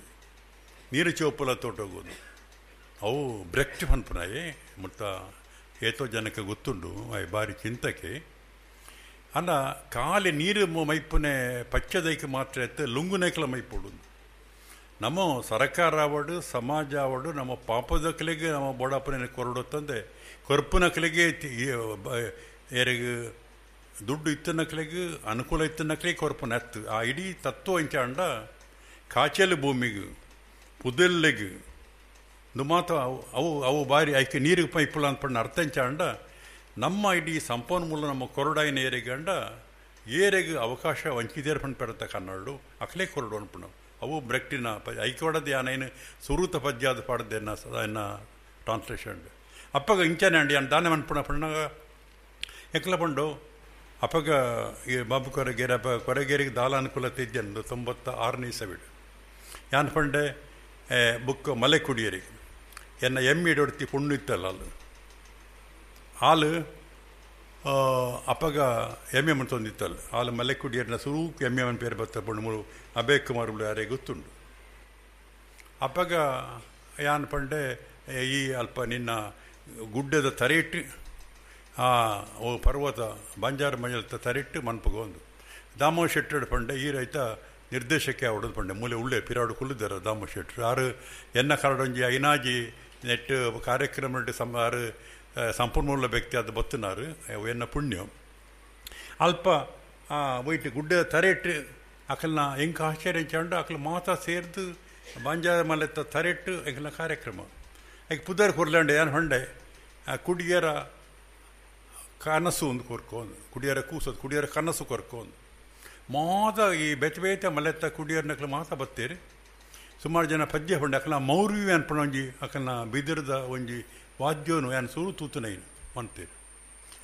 ನೀರು ಚೋಪುಲ ತೋಟೋಗೋದು ಅವು ಬ್ರೆಕ್ಟ್ ಪನ್ಪುನಾಯೆ ಮುತ್ತ ಏತೋ ಜನಕ್ಕೆ ಗೊತ್ತುಂಡು ಬಾರಿ ಚಿಂತಕೆ ಅನ್ನ ಖಾಲಿ ನೀರು ಮೈಪುನೆ ಪಚ್ಚದೈಕೆ ಮಾತ್ರ ಎತ್ತು ಲುಂಗುನೈಕಲ ಮೈಪುಡು ನಮ್ಮ ಸರಕಾರ ಆವಡು ಸಮಾಜ ಆವಡು ನಮ್ಮ ಪಾಪದಕ್ಕಲಿಗೆ ನಮ್ಮ ಬೋಡಪ್ಪನ ಕೊರಡು ತಂದೆ ಕೊರ್ಪುನಕಲಿಗೆ ಏರಿಗೆ ದುಡ್ಡು ಇತ್ತನಕಲಿಗೆ ಅನುಕೂಲ ಇತ್ತನಕಲಿಗೆ ಕೊರ್ಪುನ ಎತ್ತು ಆ ಇಡೀ ತತ್ವ ಇಂಚಾಂಡ ಕಾಚಲು ಭೂಮಿಗೆ ಪುದೆಲ್ಲಿಗೆ ಮಾತ ಅವು ಅವು ಅವು ಬಾರಿ ಐಕೆ ನೀರಿಗೆ ಪೈಪುಲ ಅಂದ್ಪಣ್ಣ ಅರ್ಥ ಇಂಚಾಂಡ ನಮ್ಮ ಇಡೀ ಸಂಪನ್ಮೂಲ ನಮ್ಮ ಕೊರಡಾಯಿನ ಏರಿಗೆ ಅಂಡ ಏರೆಗೆ ಅವಕಾಶ ವಂಚಿದೇರ್ ಪಣ್ ಪೆರತ ಕನ್ನಡು ಅಕ್ಲೇ ಕೊರಡು ಅನ್ಪಣ ಅವು ಬ್ರೆಕ್ಟಿನ ಐಕೋಡದ ಯಾನೇನು ಸುರೂತ ಪದ್ಯಾದ ಪಾಡದೆನ್ನ ಎನ್ನ ಟ್ರಾನ್ಸ್ಲೇಷನ್ ಅಪ್ಪಗ ಇಂಚನೆ ಅಂಡಿ ಅನ್ ದಾನೆ ಮನ್ಪುಣ ಪಣ್ಣಾಗ ಎಕ್ಲ ಪಂಡು ಅಪ್ಪಗ ಈ ಬಾಬು ಕೊರಗೇರಿ ಅಪ್ಪ ಕೊರಗೇರಿಗೆ ದಾಲ ಅನುಕೂಲತೆ ಇದ್ದೆ 96ನೇ ಇಸವಿಡು ಯಾನ್ ಪಂಡೆ ಬುಕ್ ಮಲೆ ಕುಡಿಯರಿಗೆ ಎನ್ನ ಎಮ್ಮಿ ಡೊಡ್ತಿ ಪುಣ್ಣು ಇತ್ತಲ್ಲ ಅಲ್ಲು ಹಾಲು ಅಪಗ ಎಮ್ ಎ ಮಂತೊಂದಿತ್ತಲ್ಲ ಆಲ ಮಲೆಕುಡಿಯರ್ನ ಸುರೂಕ್ ಎಮ್ ಎ ಪೇರು ಬತ್ತ ಪಂಡು ಅಭಯ್ ಕುಮಾರ್ ಯಾರೇ ಗೊತ್ತುಂಡು. ಅಪಗ ಯಾನ್ ಪಂಡೆ ಈ ಅಲ್ಪ ನಿನ್ನ ಗುಡ್ಡದ ತರೆಯಿಟ್ಟು ಆ ಓ ಪರ್ವತ ಬಂಜಾರ ಮಂಜಲ್ತ ತರೆಯಿಟ್ಟು ಮನ್ಪುಗ ಒಂದು ದಾಮೋ ಶೆಟ್ಟರು ಪಂಡೆ ಈ ರೈತ ನಿರ್ದೇಶಕ್ಕೆ ಅವಡದು ಪಂಡೆ ಮೂಲೆ ಉಳ್ಳೆ ಪಿರಾಡು ಕುಲ್ಲಿದ್ದಾರೆ ದಾಮೋ ಶೆಟ್ಟರು ಆರು ಎನ್ನ ಕರಡೊಂಜಿ ಐನಾಜಿ ನೆಟ್ ಕಾರ್ಯಕ್ರಮ ಆರು ಸಂಪನ್ಮೂಲ ವ್ಯಕ್ತಿ ಅದು ಬತ್ತನಾರು ಎನ್ನ ಪುಣ್ಯ ಅಲ್ಪ ಒಯ್ಟ್ ಗುಡ್ಡ ತರೆಟ್ಟು ಅಕಲ್ನ ಎಂಕ ಆಶ್ಚರ್ಯ ಚಂಡು ಅಕಲ್ ಮಾತಾ ಸೇರ್ದು ಬಂಜಾರ ಮಲೆತ್ತ ತರೆಟ್ಟು ಎಂಕಲ್ನ ಕಾರ್ಯಕ್ರಮ ಐಕ್ ಪುದರ್ ಕೊರ್ಲಾಂಡೆ ಏನು ಹೊಂಡೆ ಕುಡಿಯರ ಕನಸು ಒಂದು ಕೊರ್ಕೊಂಡು ಕುಡಿಯರ ಕೂಸೋದು ಕುಡಿಯರ ಕನಸು ಕೊರ್ಕೊಂಡು ಮಾತ ಈ ಬೆತ್ತ ಬೇತೆ ಮಲೆತ್ತ ಕುಡಿಯರ್ನಕ್ಲ ಮಾತ ಬತ್ತೀರಿ ಸುಮಾರು ಜನ ಪದ್ಯ ಹೊಂಡೆ ಅಕಲ್ನ ಮೌರ್ವಿ ಅನ್ಪಣ ಒಂಜಿ ಅಕಲ್ನ ಬಿದಿರದ ಒಂಜಿ ವಾದ್ಯೋನು ಯಾನ್ ಸೂರು ತೂತುನೈನು ಅಂತೀರಿ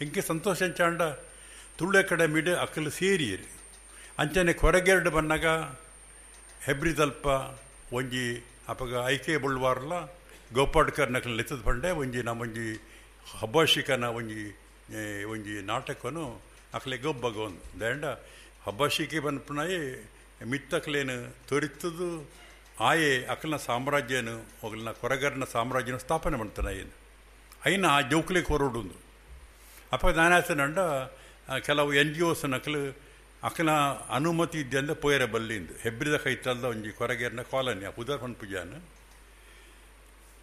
ಎಂಕೆ ಸಂತೋಷ ಚಾಂಡ ತುಳು ಅಕಾಡೆಮಿಡ್ ಅಕಲ್ ಸೇರಿಯರು ಅಂಚನೆ ಕೊರಗೆರಡು ಬನ್ನಾಗ ಹೆಬ್ರಿ ತಲ್ಪ ಒಂಜಿ ಅಪಗ ಐಕೆ ಬುಳ್ವಾರ್ಲ ಗೋಪಾಡ್ಕರ್ ನಕಲ್ ಲೆತ್ತದ ಪಂಡೆ ಒಂಜಿ ನಮ್ಮೊಂಜಿ ಹಬ್ಬಾಶಿಕನ ಒಂಜಿ ಒಂಜಿ ನಾಟಕನು ಅಕಲೆ ಗೊಬ್ಬಗ ಒಂದು ದಂಡ ಹಬ್ಬಾಶಿಕೆ ಬನ್ಪುಣಾಯೆ ಮಿತ್ತಕ್ಲೇನು ತೊರಿತದು ಆಯೆ ಅಕಲ್ನ ಸಾಮ್ರಾಜ್ಯನು ಒಗಲ್ನ ಕೊರಗರ್ನ ಸಾಮ್ರಾಜ್ಯನ ಸ್ಥಾಪನೆ ಮಾಡ್ತಾನೆ ಏನು ಐನ ಆ ಜೋಕ್ಲೆ ಕೊರಡುಂದು ಅಪ್ಪ ನಾನಾಸನಂಡ ಕೆಲವು ಎನ್ ಜಿ ಒಸ್ ನಕಲು ಅಕಲ ಅನುಮತಿ ಇದ್ದೆ ಪೋಯರ ಬಲ್ಲಿಂದು ಹೆಬ್ರಿದ ಕೈತಲ್ದ ಒಂಜಿ ಕೊರಗೇರ್ನ ಕಾಲನಿ ಆ ಪುದರ್ ಪನ್ಪುಜಾನ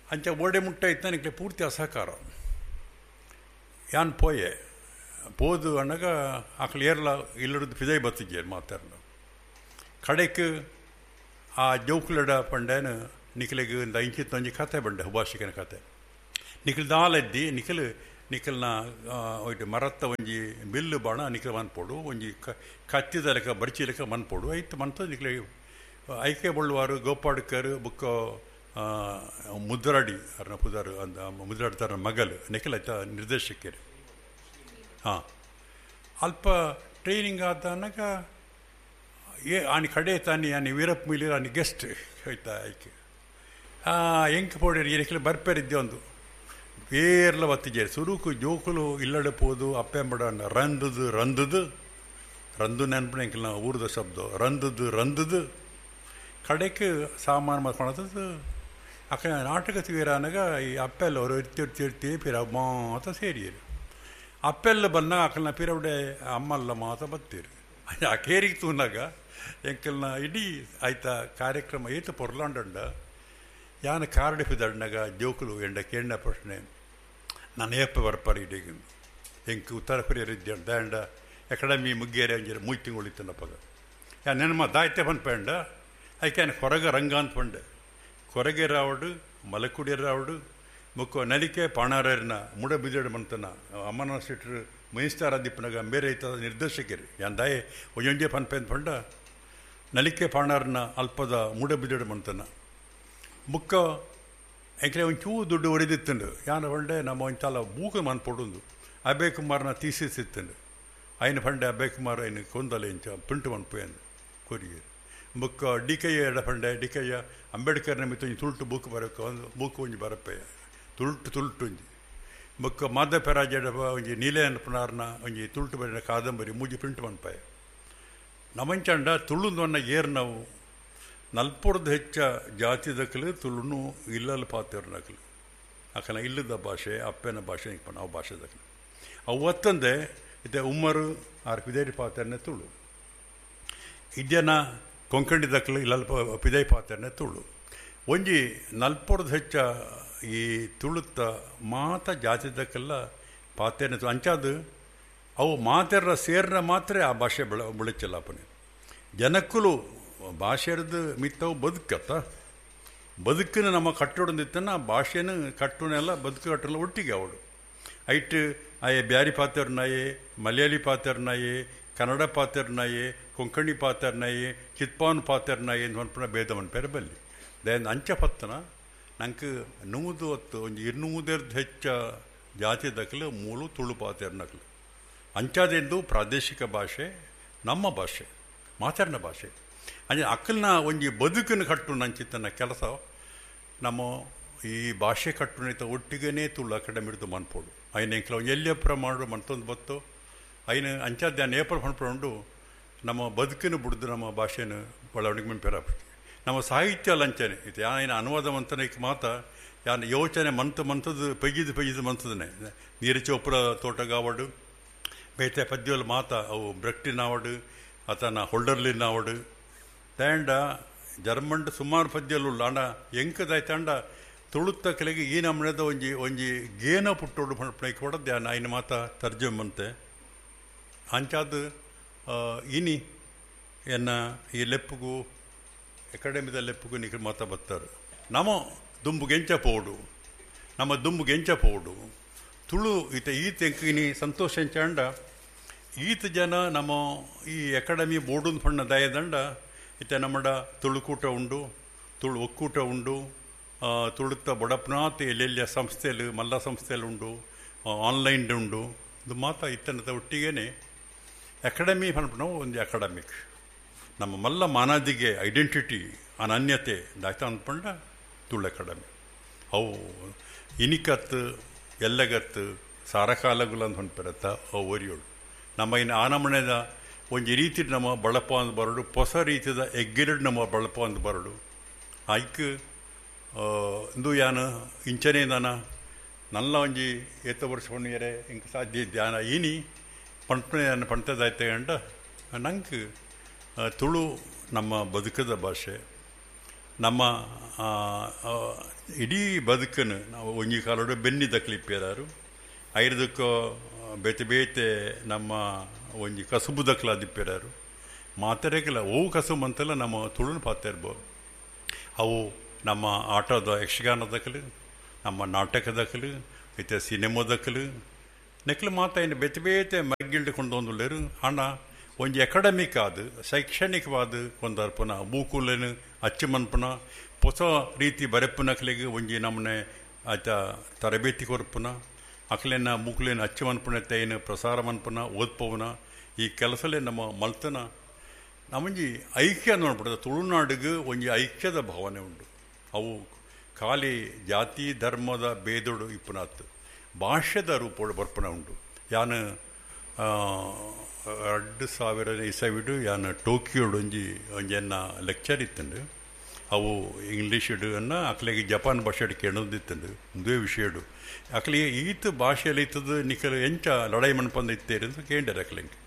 ಅಂಚ ಓಡೆ ಮುಟ್ಟ ಇತ್ತ ನಿಕ್ಲೆ ಪೂರ್ತಿ ಅಸಹಕಾರ ಯಾನ್ ಪೋಯೆ ಪೋದು ಅಣ್ಣಗ ಅಕಲ್ ಏರ್ಲ ಇಲ್ಲರದ್ದು ಫಿದೈ ಬತ್ತಿದ್ದೆ ಮಾತಾಡ್ಲ ಕಡೆಕ್ ಆ ಜೋಕುಲಡ ಪಂಡೇನು ನಿಖಲಿಗೆ ಒಂದು ಇಂಚಿತ್ತು ಒಂಜಿ ಕತೆ ಬಂಡೆ ಹುಬಾಷಿಕನ ಕತೆ ನಿಖಲ್ ದಾಲೆದ್ದಿ ನಿಖಲ್ ನಿಖಲ್ನ ಒಯ್ಟ್ ಮರತ್ತ ಒಂಜಿ ಬಿಲ್ಲು ಬಾಣ ನಿಖಲ್ ಮನ್ಪೋಡು ಒಂಜಿ ಕತ್ತಿದ ಲೆಕ್ಕ ಬರ್ಚಿ ಲೆಕ್ಕ ಮನ್ಪೋಡು ಐತು ಮಂತ ನಿಖಲೆ ಐಕೆ ಬೊಳ್ಳುವಾರು ಗೋಪಾಡ್ಕರ್ ಬುಕ್ಕ ಮುದ್ರಾಡಿ ಅರ್ನ ಪುದಾರು ಅಂದ ಮುದ್ರಾಡ್ತಾರ ಮಗಲು ನಿಖಲ್ ಆಯ್ತ ನಿರ್ದೇಶಕರು. ಹಾಂ ಅಲ್ಪ ಟ್ರೈನಿಂಗ್ ಆದನಾಗ ಏ ಆನಿ ಕಡೆ ತಾನಿ ಆನಿ ವೀರಪ್ಪ ಮೊಯ್ಲಿ ಆನಿ ಗೆಸ್ಟ್ ಆಯ್ತಾ ಐಕೆ ಎಂಕ್ ಪೋಡೇರಿ ಏನಿಕ್ಲೆ ಬರ್ಪೇರಿದ್ದೆ ಒಂದು ಏರ್ಲ ಬತ್ತಿಜೇರಿ ಸುರುಕು ಜೋಕುಲು ಇಲ್ಲಡೆ ಪೋದು ಅಪ್ಪೆಂಬಡ ರಂದದು ರಂದದು ರಂದು ನೆನಪು ಎಂಕಲ್ನ ಊರದ ಶಬ್ದ ರಂದದು ರಂದದು ಕಡೆಗೆ ಸಾಮಾನು ಮಾಡ್ಕೊಳತ್ತದು ಅಕ್ಕ ನಾಟಕ ತೀರಾನಾಗ ಈ ಅಪ್ಪೆಲ್ಲ ಅವರು ಇರ್ತಿ ಇರ್ತಿ ಇರ್ತಿ ಪಿರ ಮಾತ ಸೇರಿಯರು ಅಪ್ಪೆಲ್ಲ ಬನ್ನ ಅಕಲ್ನ ಪಿರವಡೆ ಅಮ್ಮಲ್ಲ ಮಾತ ಬತ್ತೀರಿ ಆ ಕೇರಿಗೆ ತೂನಾಗ ಎಂಕಲ್ನ ಇಡೀ ಆಯ್ತಾ ಕಾರ್ಯಕ್ರಮ ಏತು ಪೊರ್ಲಾಂಡಂಡ ಯಾನ ಕಾರ್ಡ್ ಪಿದಡ್ನಾಗ ಜೋಕುಲು ಎಂಡ ಕೇಂಡ ಪ್ರಶ್ನೆ ನಾನು ಏಪ್ಪ ಬರ್ಪಾರ ಇಡೀ ಎಂಕ್ ಉತ್ತರ ಕೊರಿಯರ್ ದಾಂಡ ಅಕಾಡೆಮಿ ಮುಗ್ಗೇರಿ ಅಂಜರ ಮೂರು ತಿಂಗಳು ಇತ್ತನಪ್ಪಗ ಯಾ ನೆನಮ ದಾಯ್ತೆ ಪನ್ಪಂಡ ಐಕೆ ಕೊರಗ ರಂಗ ಅಂತ ಪಂಡೆ ಕೊರಗೆ ರಾವಡು ಮಲಕುಡಿ ರಾವಡು ಮುಕ್ಕ ನಲಿಕೆ ಪಾಣಾರರ್ನ ಮುಡ ಬಿಜಡ ಮಂತನ ಅಮ್ಮನ ಶೆಟ್ರು ಮಿನಿಸ್ಟರ್ ಆದಿಪ್ಪನಾಗ ಬೇರೆ ಐತದ ನಿರ್ದೇಶಕರು ಯಾನ್ ದಾಯೆ ಒಂಜೊಂಜೆ ಪನ್ಪೆ ಅಂತ ಪಂಡ ನಲಿಕೆ ಪಾಣಾರನ ಅಲ್ಪದ ಮುಡ ಬಿಜಡ ಮಂತನ ಮುಕ್ಕ ಎಂಕ್ಲೆ ಒಂಚೂ ದುಡ್ಡು ಒರಿದಿತ್ತಂಡು ಯಾನ ಪಂಡೆ ನಮ್ಮ ಒಂಚಾಲ ಬೂಕ ಮನ್ಪೊಡುಂದು ಅಭಯ್ ಕುಮಾರ್ನ ಥೀಸಿಸ್ ಇತ್ತಂಡು ಐನ ಪಂಡೆ ಅಭಯ್ ಕುಮಾರ್ ಐನ ಕೊಂದಲೆ ಇಂಚ ಪ್ರಿಂಟ್ ಮನ್ಪುಯಂದು ಕೊರಿಯರು ಬುಕ್ಕ ಡಿ ಕೆ ಎಡ ಪಂಡೆ ಡಿ ಕೆ ಅಂಬೇಡ್ಕರ್ನ ಮಿತ್ತ ಒಂಜಿ ತುಳುಟು ಬೂಕು ಬರಕ್ಕೆ ಒಂದು ಬೂಕು ಒಂಜಿ ಬರಪ್ಪಯ್ಯ ತುಳುಟು ತುಳುಟು ಒಂಜಿ ಬೊಕ್ಕ ಮಾಧವ ಪೆರಾಜೆಡ ಒಂಜಿ ನೀಲೆ ಅನ್ಪನಾರ್ನ ಒಂಜಿ ತುಳುಟು ಬರೆನ ಕಾದಂಬರಿ ಮೂಜಿ ಪ್ರಿಂಟ್ ಮನ್ಪಯ್ಯ ನಮಂಚಂಡ ತುಳುಂದೊನ್ನ ಏರ್ ನಾವು ನಲ್ಪುರ್ದು ಹೆಚ್ಚ ಜಾತಿದಕ್ಕಲು ತುಳುನು ಇಲ್ಲಲ್ಲಿ ಪಾತಿರ್ನಕಲು ಅಕಲ ಇಲ್ಲದ ಭಾಷೆ ಅಪ್ಪನ ಭಾಷೆ ನಾವು ಭಾಷೆ ದಕ್ಕಲು ಅವು ಒತ್ತಂದೆ ಇತ್ತೆ ಉಮ್ಮರು ಆರ್ ಪಿದೇರಿ ಪಾತ್ರನೆ ತುಳು ಇದ್ಯನ ಕೊಂಕಣಿ ದಕ್ಕಲು ಇಲ್ಲಲ್ ಪಿದೈ ಪಾತ್ರನೆ ತುಳು ಒಂಜಿ ನಲ್ಪುರ್ದು ಹೆಚ್ಚ ಈ ತುಳುತ್ತ ಮಾತ ಜಾತಿ ದಕ್ಕಲ್ಲ ಪಾತ್ರನೆ ಅಂಚಾದು ಅವು ಮಾತೆರ್ರ ಸೇರ್ನ ಮಾತ್ರ ಆ ಭಾಷೆ ಬೆಳಚಲ್ಲಪ್ಪನೆ ಜನಕ್ಕಲು ಭಾಷೆರ್ದು ಮಿತ್ತವು ಬದುಕತ್ತ ಬದುಕಿನ ನಮ್ಮ ಕಟ್ಟೊಡಂದಿತ್ತನ ಭಾಷೆನ ಕಟ್ಟುನೆಲ್ಲ ಬದುಕು ಕಟ್ಟಲ್ಲ ಒಟ್ಟಿಗೆ ಅವಳು ಐಟ್ ಆಯೆ ಬ್ಯಾರಿ ಪಾತ್ರನಾಯೆ ಮಲಯಾಳಿ ಪಾತ್ರನಾಯೆ ಕನ್ನಡ ಪಾತ್ರನಾಯೆ ಕೊಂಕಣಿ ಪಾತ್ರನಾಯೆ ಚಿತ್ಪಾನ್ ಪಾತ್ರನಾಯೆ ಎಂದು ಮನ್ಪುನ ಭೇದ ಮನ್ಪೇರ ಬಲ್ಲಿ ದಯಂದ ಅಂಚ ಪತ್ತನ ನಂಗೆ ನೂದು ಹೊತ್ತು ಒಂಜಿ 200 ಹೆಚ್ಚ ಜಾತಿ ದಕ್ಕಲು ಮೂಲು ತುಳು ಪಾತ್ರನಕಲು ಅಂಚಾದೆಂದು ಪ್ರಾದೇಶಿಕ ಭಾಷೆ ನಮ್ಮ ಭಾಷೆ ಮಾತಾಡಿನ ಭಾಷೆ ಅಂದರೆ ಅಕ್ಕಲ್ನ ಒಂಜಿ ಬದುಕನ್ನು ಕಟ್ಟು ನಂಚಿತ್ತನ ಕೆಲಸ ನಮ್ಮ ಈ ಭಾಷೆ ಕಟ್ಟುನಿತ ಒಟ್ಟಿಗೆನೇ ತುಳು ಅಕಾಡೆಮಿ ಹಿಡಿದು ಮನ್ಪೋಡು. ಐನ ಎಂಕ್ಲ ಎಲ್ಲಿಯ ಪ್ರಮಾಣ ಮಂತೊಂದು ಬತ್ತು ಐನ ಅಂಚಾದ್ಯಾನ ಏಪಲ್ ಪಣ್ಪುಂಡು ನಮ್ಮ ಬದುಕಿನ ಬುಡ್ದು ನಮ್ಮ ಭಾಷೆನ ಬೆಳವಣಿಗೆ ಮಂಪೆರಾಪತಿ ನಮ್ಮ ಸಾಹಿತ್ಯ ಲಂಚನೆ ಇದು ಯಾನ ಅನುವಾದ ಮಂತನಕ್ಕೆ ಮಾತ ಯಾನ ಯೋಚನೆ ಮಂತು ಮಂತದ್ದು ಪೆಗಿದು ಪೆಗಿದು ಮಂತದನೆ ನೀರು ಚೋಪುರ ತೋಟಗಾವಡು ಬೇತೆ ಪದ್ಯಲ್ ಮಾತ ಅವು ಬ್ರಕ್ಟಿನಾವಡು ಆತನ ಹೊಲ್ಡರ್ಲಿನಾವಡು ತಾಂಡ ಜರ್ಮಂಡ್ ಸುಮಾರು ಪದ್ಯಲು ಆಂಡ ಎಂಕದಾಯ್ತಾಂಡ ತುಳುತ್ತ ಕೆಳಗೆ ಈ ನಮ್ಮನೆದ ಒಂಜಿ ಒಂಜಿ ಗೇನ ಪುಟ್ಟೋಡು ಪಣಪಣಕ್ಕೆ ಹೊಡದ್ದೆ ಐನ ಮಾತ ತರ್ಜಮಂತೆ ಅಂಚಾದ ಇನಿ ಎನ್ನ ಈ ಲೆಪ್ಪುಗು ಅಕಾಡೆಮಿದ ಲೆಪ್ಪುಗು ನಿಖ ಮಾತ ಬತ್ತಾರೆ ನಮ್ಮ ದುಂಬುಗೆಂಚ ಪೋಡು ನಮ್ಮ ದುಂಬುಗೆಂಚ ಪೋಡು ತುಳು ಈತ ಈತ ಎಂಕಿನಿ ಸಂತೋಷ ಎಂಚಾಂಡ ಈತ ಜನ ನಮ್ಮ ಈ ಅಕಾಡೆಮಿ ಬೋರ್ಡುನ್ ಪಣ್ಣ ದಯದಂಡ ಇತ್ತ ನಮ್ಮಡ ತುಳುಕೂಟ ಉಂಡು ತುಳು ಒಕ್ಕೂಟ ಉಂಡು ತುಳುತ್ತ ಬಡಪ್ನಾಥ್ ಎಲ್ಲೆಲ್ಲಿಯ ಸಂಸ್ಥೆಯಲ್ಲಿ ಮಲ್ಲ ಸಂಸ್ಥೆಯಲ್ಲಿ ಉಂಡು ಆನ್ಲೈನ್ ಉಂಡು ಇದು ಮಾತ ಇತ್ತನದ ಒಟ್ಟಿಗೇನೆ ಅಕಾಡೆಮಿ ಪನ್ಪುನವು ಒಂದು ಅಕಾಡೆಮಿಕ್ ನಮ್ಮ ಮಲ್ಲ ಮಾನಾದಿಗೆ ಐಡೆಂಟಿಟಿ ಅನನ್ಯತೆ ದಾಯ್ತ ಅಂದ್ಪಂಡ ತುಳು ಅಕಾಡೆಮಿ ಅವು ಇನಿಕತ್ತು ಎಲ್ಲಗತ್ತು ಸಾರಕಾಲಗುಲ ಅಂತ ಹೊಂಟ್ಪಿರತ್ತ ಅವು ಒರಿಯೋಳು ನಮ್ಮ ಇನ್ನು ಆನಮಣೆದ ಒಂಜಿ ರೀತಿ ನಮ್ಮ ಬಳಪ ಅಂದ್ ಬರಡು ಹೊಸ ರೀತಿದ ಎಗ್ಗಿರಡು ನಮ್ಮ ಬಳಪ ಅಂದ್ ಬರಡು ಐಕ್ ಇಂದು ಯಾನ ಇಂಚನೇ ನಾನ ನಲ್ಲ ಒಂಜಿ ಏತ ವರ್ಷ ಹೊಣ್ಣಿಯರೆ ಇಂಕ ಸಾಧ್ಯ ಧ್ಯಾನ ಈನಿ ಪಂಪನೆ ಪಂಟದಾಯ್ತೆ ಗಂಡ ನಂಗೆ ತುಳು ನಮ್ಮ ಬದುಕದ ಭಾಷೆ ನಮ್ಮ ಇಡೀ ಬದುಕನ್ನು ನಾವು ಒಂಜಿ ಕಾಲೋಡು ಬೆನ್ನಿ ದಕ್ಲಿಪ್ಪಿಯರಾರು ಐರದಕ್ಕೋ ಬೇತೆ ಬೇತೆ ನಮ್ಮ ಒಂಜಿ ಕಸುಬು ದಕ್ಲಾದಿಪ್ಪಿರಾರು ಮಾತರೇಕಲ್ಲ ಓ ಕಸುಬು ಅಂತೆಲ್ಲ ನಮ್ಮ ತುಳುನ ಪಾತ್ರ ಇರ್ಬೋದು ಅವು ನಮ್ಮ ಆಟದ ಯಕ್ಷಗಾನದಕಲು ನಮ್ಮ ನಾಟಕದಕಲು ಇತ್ತೆ ಸಿನಿಮಾದಕಲು ನೆಕ್ಲು ಮಾತ ಇನ್ನು ಬೇತೆ ಬೇತೆ ಮಗ್ಗಿಲ್ಡು ಕೊಂಡೊಂದುಳ್ಳೇರು ಹಣ ಒಂಜಿ ಅಕಾಡೆಮಿಕ್ ಆದ ಶೈಕ್ಷಣಿಕವಾದ ಕೊಂದರ್ಪುನ ಬೂಕುಲೇನು ಅಚ್ಚು ಮನ್ಪುನ ಹೊಸ ರೀತಿ ಬರೆಪುನಕ್ಲಿಗೆ ಒಂಜಿ ನಮ್ಮನೆ ಆಯ್ತಾ ತರಬೇತಿ ಕೊರ್ಪುನ ಅಕ್ಲೇನ ಬೂಕುಲೇನು ಅಚ್ಚು ಮನ್ಪುನ ತೈನು ಪ್ರಸಾರ ಮನ್ಪುನ ಓದ್ಪವನ ಈ ಕೆಲಸಲೇ ನಮ್ಮ ಮಲ್ತನ ನಮ್ಮಂಜಿ ಐಕ್ಯ ನೋಡ್ಬಿಡ್ತದೆ ತುಳುನಾಡಿಗೆ ಒಂಜಿ ಐಕ್ಯದ ಭಾವನೆ ಉಂಟು ಅವು ಖಾಲಿ ಜಾತಿ ಧರ್ಮದ ಭೇದೋಡು ಇಪ್ಪುನಾತ್ ಭಾಷೆದ ರೂಪೋಡು ಬರ್ಪಣ ಉಂಟು ಯಾನು 2000 ಇಸವಿಡು ಯಾನು ಟೋಕಿಯೋಡು ಒಂಜಿ ಒಂಜೆನ್ನ ಲೆಕ್ಚರ್ ಇತ್ತಂಡು ಅವು ಇಂಗ್ಲೀಷಿಡು ಅನ್ನ ಅಕ್ಲೆಗೆ ಜಪಾನ್ ಭಾಷೆಡು ಕೇಳೋದಿತ್ತಂಡು ಒಂದೇ ವಿಷಯಡು ಅಕ್ಲಿಗೆ ಈತ ಭಾಷೆಯಲ್ಲಿ ಇತ್ತದು ನಿಖಲು ಎಂಚ ಲಡಾಯಿ ಮಣ್ಪಂದು ಇತ್ತೇರಿ ಅಂತ ಕೇಂಡರು ಅಕ್ಲೆಂಗೆ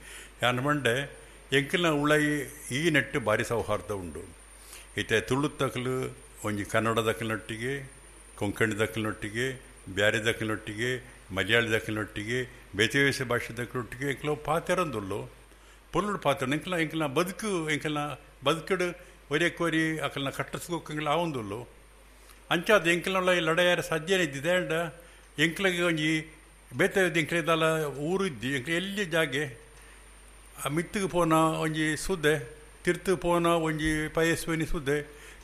ಯಾನು ಮಂಡೆ ಎಂಕಲ್ನ ಉಳೈ ಈ ನೆಟ್ಟು ಭಾರಿ ಸೌಹಾರ್ದ ಉಂಡು ಇತ್ತೆ ತುಳುತ್ತಕಲು ಒಂಜಿ ಕನ್ನಡದಕ್ಕಲಿನೊಟ್ಟಿಗೆ ಕೊಂಕಣಿದಕ್ಕಲಿನೊಟ್ಟಿಗೆ ಬ್ಯಾರಿದಕ್ಕಲಿನೊಟ್ಟಿಗೆ ಮಲಯಾಳದಕ್ಕಲಿನೊಟ್ಟಿಗೆ ಬೇತೆ ಬೇಸೆ ಭಾಷೆದಕ್ಕಲೊಟ್ಟಿಗೆ ಎಂಕಲ ಪಾತೆರಂದುಲ್ಲು ಪೊರ್ಲುಡು ಪಾತ್ರ ಎಂಕಲ ಎಂಕಲ್ನ ಬದುಕು ಎಂಕಲ್ನ ಬದುಕಡು ಒರಿಯಕ್ಕೊರಿ ಅಕಲ್ನ ಕಟ್ಟಸ್ಕೋಕಂಗ್ಲ ಆವೊಂದುಲ್ಲು ಅಂಚಾದ ಎಂಕಲ್ನ ಈ ಲಡಾಯಾರ ಸಾಧ್ಯನೇ ಇದ್ದಿದೆ ಅಂಡ ಎಂಕ್ಲಗೆ ಒಂಜಿ ಬೇತೆ ಎಂಕ್ಲೆದಲ್ಲ ಊರು ಇದ್ದಿ ಎಂಕ್ಲ ಎಲ್ಲಿ ಜಾಗೆ ಆ ಮಿತ್ತಿಗೆ ಪೋನ ಒಂಜಿ ಸುದ್ದೆ ತಿರ್ತು ಪೋನ ಒಂಜಿ ಪಯಸ್ವಿನಿ ಸುದ್ದೆ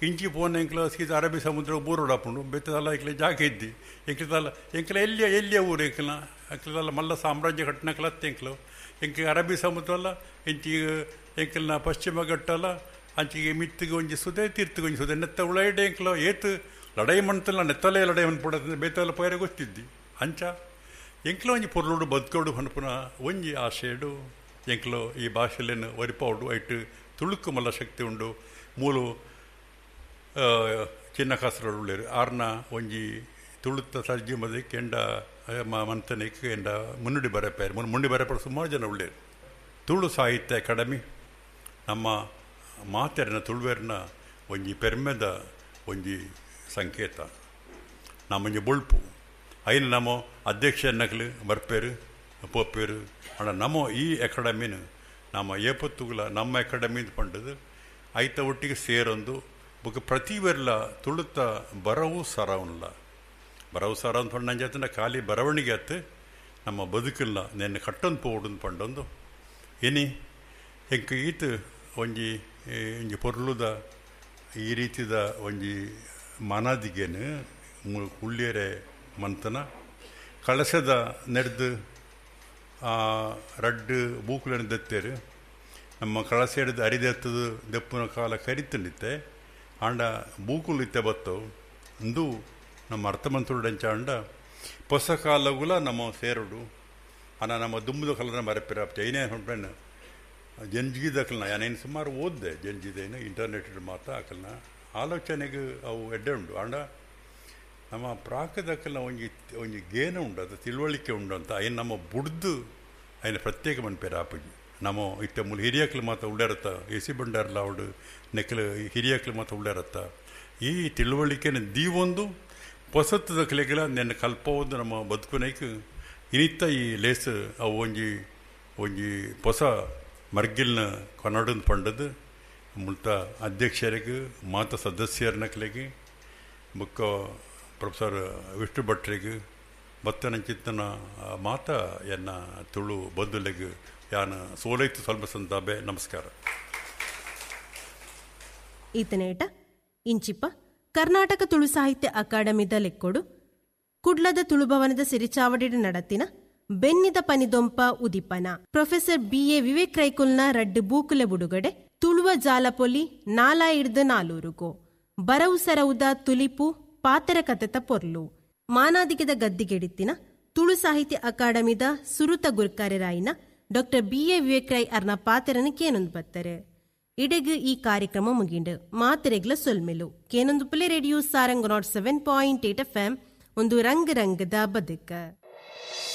ಇಂಚಿ ಪೋನ ಎಂಕ್ಲ ಸೀದಾ ಅರಬ್ಬಿ ಸಮುದ್ರ ಬೂರೋಡಾಪುಂಡು ಬೆತ್ತದಲ್ಲ ಎಂಕ್ಲೆ ಜಾಗ ಇದ್ದಿ ಎಂಕ್ಲದಲ್ಲ ಎಂಕ್ಲ ಎಲ್ಲಿಯ ಎಲ್ಲಿಯ ಊರು ಎಂಕ್ಲ ಎಂಕ್ಲದಲ್ಲ ಮಲ್ಲ ಸಾಮ್ರಾಜ್ಯ ಘಟನೆಕ್ಲತ್ತೆ ಎಂಕ್ಲು ಎಂಕ್ ಅರಬ್ಬಿ ಸಮುದ್ರ ಅಲ್ಲ ಇಂಚಿಗೆ ಎಂಕಲ್ನ ಪಶ್ಚಿಮ ಘಟ್ಟಲ್ಲ ಅಂಚಿಗೆ ಮಿತ್ತಿಗೆ ಒಂಜಿ ಸುದೆ ತೀರ್ತಿಗೆ ಒಂಜಿ ಸುದೆ ನೆತ್ತ ಉಳೈಡೆ ಎಂಕ್ಲ ಏತು ಲಡೈ ಮಣ್ತಲ್ಲ ನೆತ್ತಲೇ ಲಡೈ ಮನ್ಪುಡ ಬೇತಲ್ಲ ಪೈರೆ ಗೊತ್ತಿದ್ದಿ ಅಂಚ ಎಂಕ್ಲ ಒಂಜಿ ಪೊರ್ಲುಡು ಬದುಕೋಡು ಪನ್ಪುನ ಒಂಜಿ ಆಶೆಡು ಎಂಕ್ಲು ಈ ಭಾಷೆಲೇನು ಒರಿಪಾವುಡು ಐಟ್ ತುಳುಕು ಮಲ್ಲ ಶಕ್ತಿ ಉಂಡು ಮೂಲು ಚಿನ್ನ ಕಾಸರೊಳ್ಳು ಆರ್ನ ಒಂಜಿ ತುಳುತ್ತ ತರ್ಜಿಮದೆ ಕೆಂಡ ಮಂತನಿಕ್ ಎಂಡ ಮುನ್ನುಡಿ ಬರೆಪಾರು ಮುನ್ನುಡಿ ಬರೆಪಾಡು ಸುಮಾರು ಜನ ಉಳ್ಳೇರು. ತುಳು ಸಾಹಿತ್ಯ ಅಕಾಡೆಮಿ ನಮ್ಮ ಮಾತೆರನ ತುಳುವೆರ್ನ ಒಂಜಿ ಪೆರ್ಮೆದ ಒಂಜಿ ಸಂಕೇತ, ನಮ್ಮೊಂಜಿ ಬೊಳ್ಪು. ಐನ ನಮ್ಮ ಅಧ್ಯಕ್ಷ ನಕಲು ಬರ್ಪೇರು ಪೋಪೇರು ಅಣ್ಣ ನಮ್ಮ ಈ ಅಕಾಡೆಮಿನ ನಮ್ಮ ಏಪತ್ತುಗುಲ ನಮ್ಮ ಅಕಾಡೆಮಿ ಪಂಡದು ಐತ ಒಟ್ಟಿಗೆ ಸೇರೊಂದು ಬೊಕ ಪ್ರತಿವೆರ್ಲ ತುಳುತ್ತ ಬರವು ಸರವನ್ಲ ಬರವು ಸರ ಅಂತ ಪಂಡ ನಂಜಾತನ ಖಾಲಿ ಬರವಣಿಗೆ ಅತ್ತು ನಮ್ಮ ಬದುಕಿಲ್ಲ ನೆನ್ನೆ ಕಟ್ಟೊಂದು ಪೋಡುಂದು ಪಂಡೊಂದು ಇನಿ ಎಂಕ್ ಈತ ಒಂಜಿ ಒಂಜಿ ಪೊರ್ಲುದ ಈ ರೀತಿದ ಒಂಜಿ ಮಾನಾದಿಗೆನು ಉಳ್ಳಿಯರೆ ಮಂತನ ಕಳಸದ ನೆಡ್ದು ರಡ್ಡು ಬೂಕುలను ದತ್ತೇರು ನಮ್ಮ ಕಳಸ ಹಿಡಿದು ಅರಿದೆತ್ತದು ದೆಪ್ಪುನ ಕಾಲ ಕರಿತಂಡಿತ್ತೆ ಆಂಡ ಬೂಕುಲು ಇತ್ತೆ ಬತ್ತವು ಅಂದು ನಮ್ಮ ಅರ್ಥಮಂತುಡಂಚ ಅಂಡ ಹೊಸ ಕಾಲಗುಲ ನಮ್ಮ ಸೇರೋಡು ಅನ ನಮ್ಮ ದುಂಬುದ ಕಲನ ಮರೆಪಿರ ಐನೇ ಹೊಂಟೆನ ಜಂಜಿದಕಲ್ನ ಯಾನೇನು ಸುಮಾರು ಓದ್ದೆ ಜಂಜಿದೇನು ಇಂಟರ್ನೆಟ್ ಮಾತ್ರ ಅಕಲ್ನ ಆಲೋಚನೆಗೆ ಅವು ಎಡ್ಡೆ ಉಂಡು. ಆಂಡ ನಮ್ಮ ಪ್ರಾಕದಕಲ್ನ ಒಂಜಿ ಒಂಜಿ ಗೇನ ಉಂಡು, ಅದು ತಿಳುವಳಿಕೆ ಉಂಡು ಅಂತ ಐನ್ ನಮ್ಮ ಬುಡ್ದು ಐನ ಪ್ರತ್ಯೇಕ ಮನ್ಪೇರ ಆಪುಜಿ. ನಮ್ಮ ಇತ್ತ ಮೂಲ ಹಿರಿಯಕ್ಲು ಮಾತ್ರ ಉಳ್ಳರತ್ತ, ಎಸಿ ಬಂಡಾರ್ಲ ಅವಡು ನೆಕ್ಲು ಹಿರಿಯಕ್ಲು ಮಾತ್ರ ಉಳ್ಳರತ್ತ. ಈ ತಿಳುವಳಿಕೆನ ದೀವೊಂದು ಹೊಸತ್ತದ ಕಲೆಗಳ ನೆನ್ನ ಕಲ್ಪವೊಂದು ನಮ್ಮ ಬದುಕುನೈಕ್ ಇನಿತ್ತ ಈ ಲೇಸ್ ಅವು ಒಂಜಿ ಒಂಜಿ ಹೊಸ ಮರ್ಗಿಲ್ನ ಕೊನಡನ್ ಪಂಡದು ಮುಲ್ತ ಅಧ್ಯಕ್ಷರಿಗೆ ಮಾತ ಸದಸ್ಯರನ ಕಲೆಗೆ ಬುಕ್ಕ ಪ್ರೊಫೆಸರ್ ವಿಷ್ಣು ಭಟ್ರಿಗೆ ಬತ್ತನಂಚಿತ್ತನ ಮಾತ ಎನ್ನ ತುಳು ಬಂಧುಲೆಗ್ ಯಾನ ಸೋಲೈತು ಸ್ವಲ್ಪ ಸಂತಾಬೆ. ನಮಸ್ಕಾರ. ಈತನೇಟ ಇಂಚಿಪ್ಪ ಕರ್ನಾಟಕ ತುಳು ಸಾಹಿತ್ಯ ಅಕಾಡೆಮಿದ ಲೆಕ್ಕೊಡು ಕುಡ್ಲದ ತುಳುಭವನದ ಸಿರಿಚಾವಡಿಡ ನಡತಿನ ಬೆನ್ನಿದ ಪನಿದೊಂಪ ಉದಿಪನ ಪ್ರೊಫೆಸರ್ ಬಿ.ಎ. ವಿವೇಕ್ ರೈಕುಲ್ನ ರಡ್ಡು ಬೂಕುಲೆ ಬುಡುಗಡೆ ತುಳುವ ಜಾಲಪೊಲಿ ನಾಲಾಯಿಡ್ದ ನಾಲೂರುಗೋ ಬರವು ಸರವುದ ತುಲಿಪು ಪಾತರ ಕತೆತ ಪೊರ್ಲು ಮಾನಾದಿಗೆದ ಗದ್ದಿಗೆಡಿತ್ತಿನ ತುಳು ಸಾಹಿತ್ಯ ಅಕಾಡೆಮಿದ ಸುರುತ ಗುರ್ಕಾರ್ಯರಾಯಿನ ಡಾಕ್ಟರ್ ಬಿ.ಎ. ವಿವೇಕ್ ರೈ ಅರ್ನ ಪಾತೆರನ ಕೇನೊಂದು ಬತ್ತರೆ. ಇಡೆಗ್ ಈ ಕಾರ್ಯಕ್ರಮ ಮುಗಿಂಡು. ಮಾತೆರೆಗ್ಲ ಸೊಲ್ಮೆಲು. ಕೇನೊಂದು ಪುಲೆ ರೇಡಿಯೋ ಸಾರಂಗ್ 107.8 FM ಒಂದು ರಂಗ್ ರಂಗದ ಬದುಕ.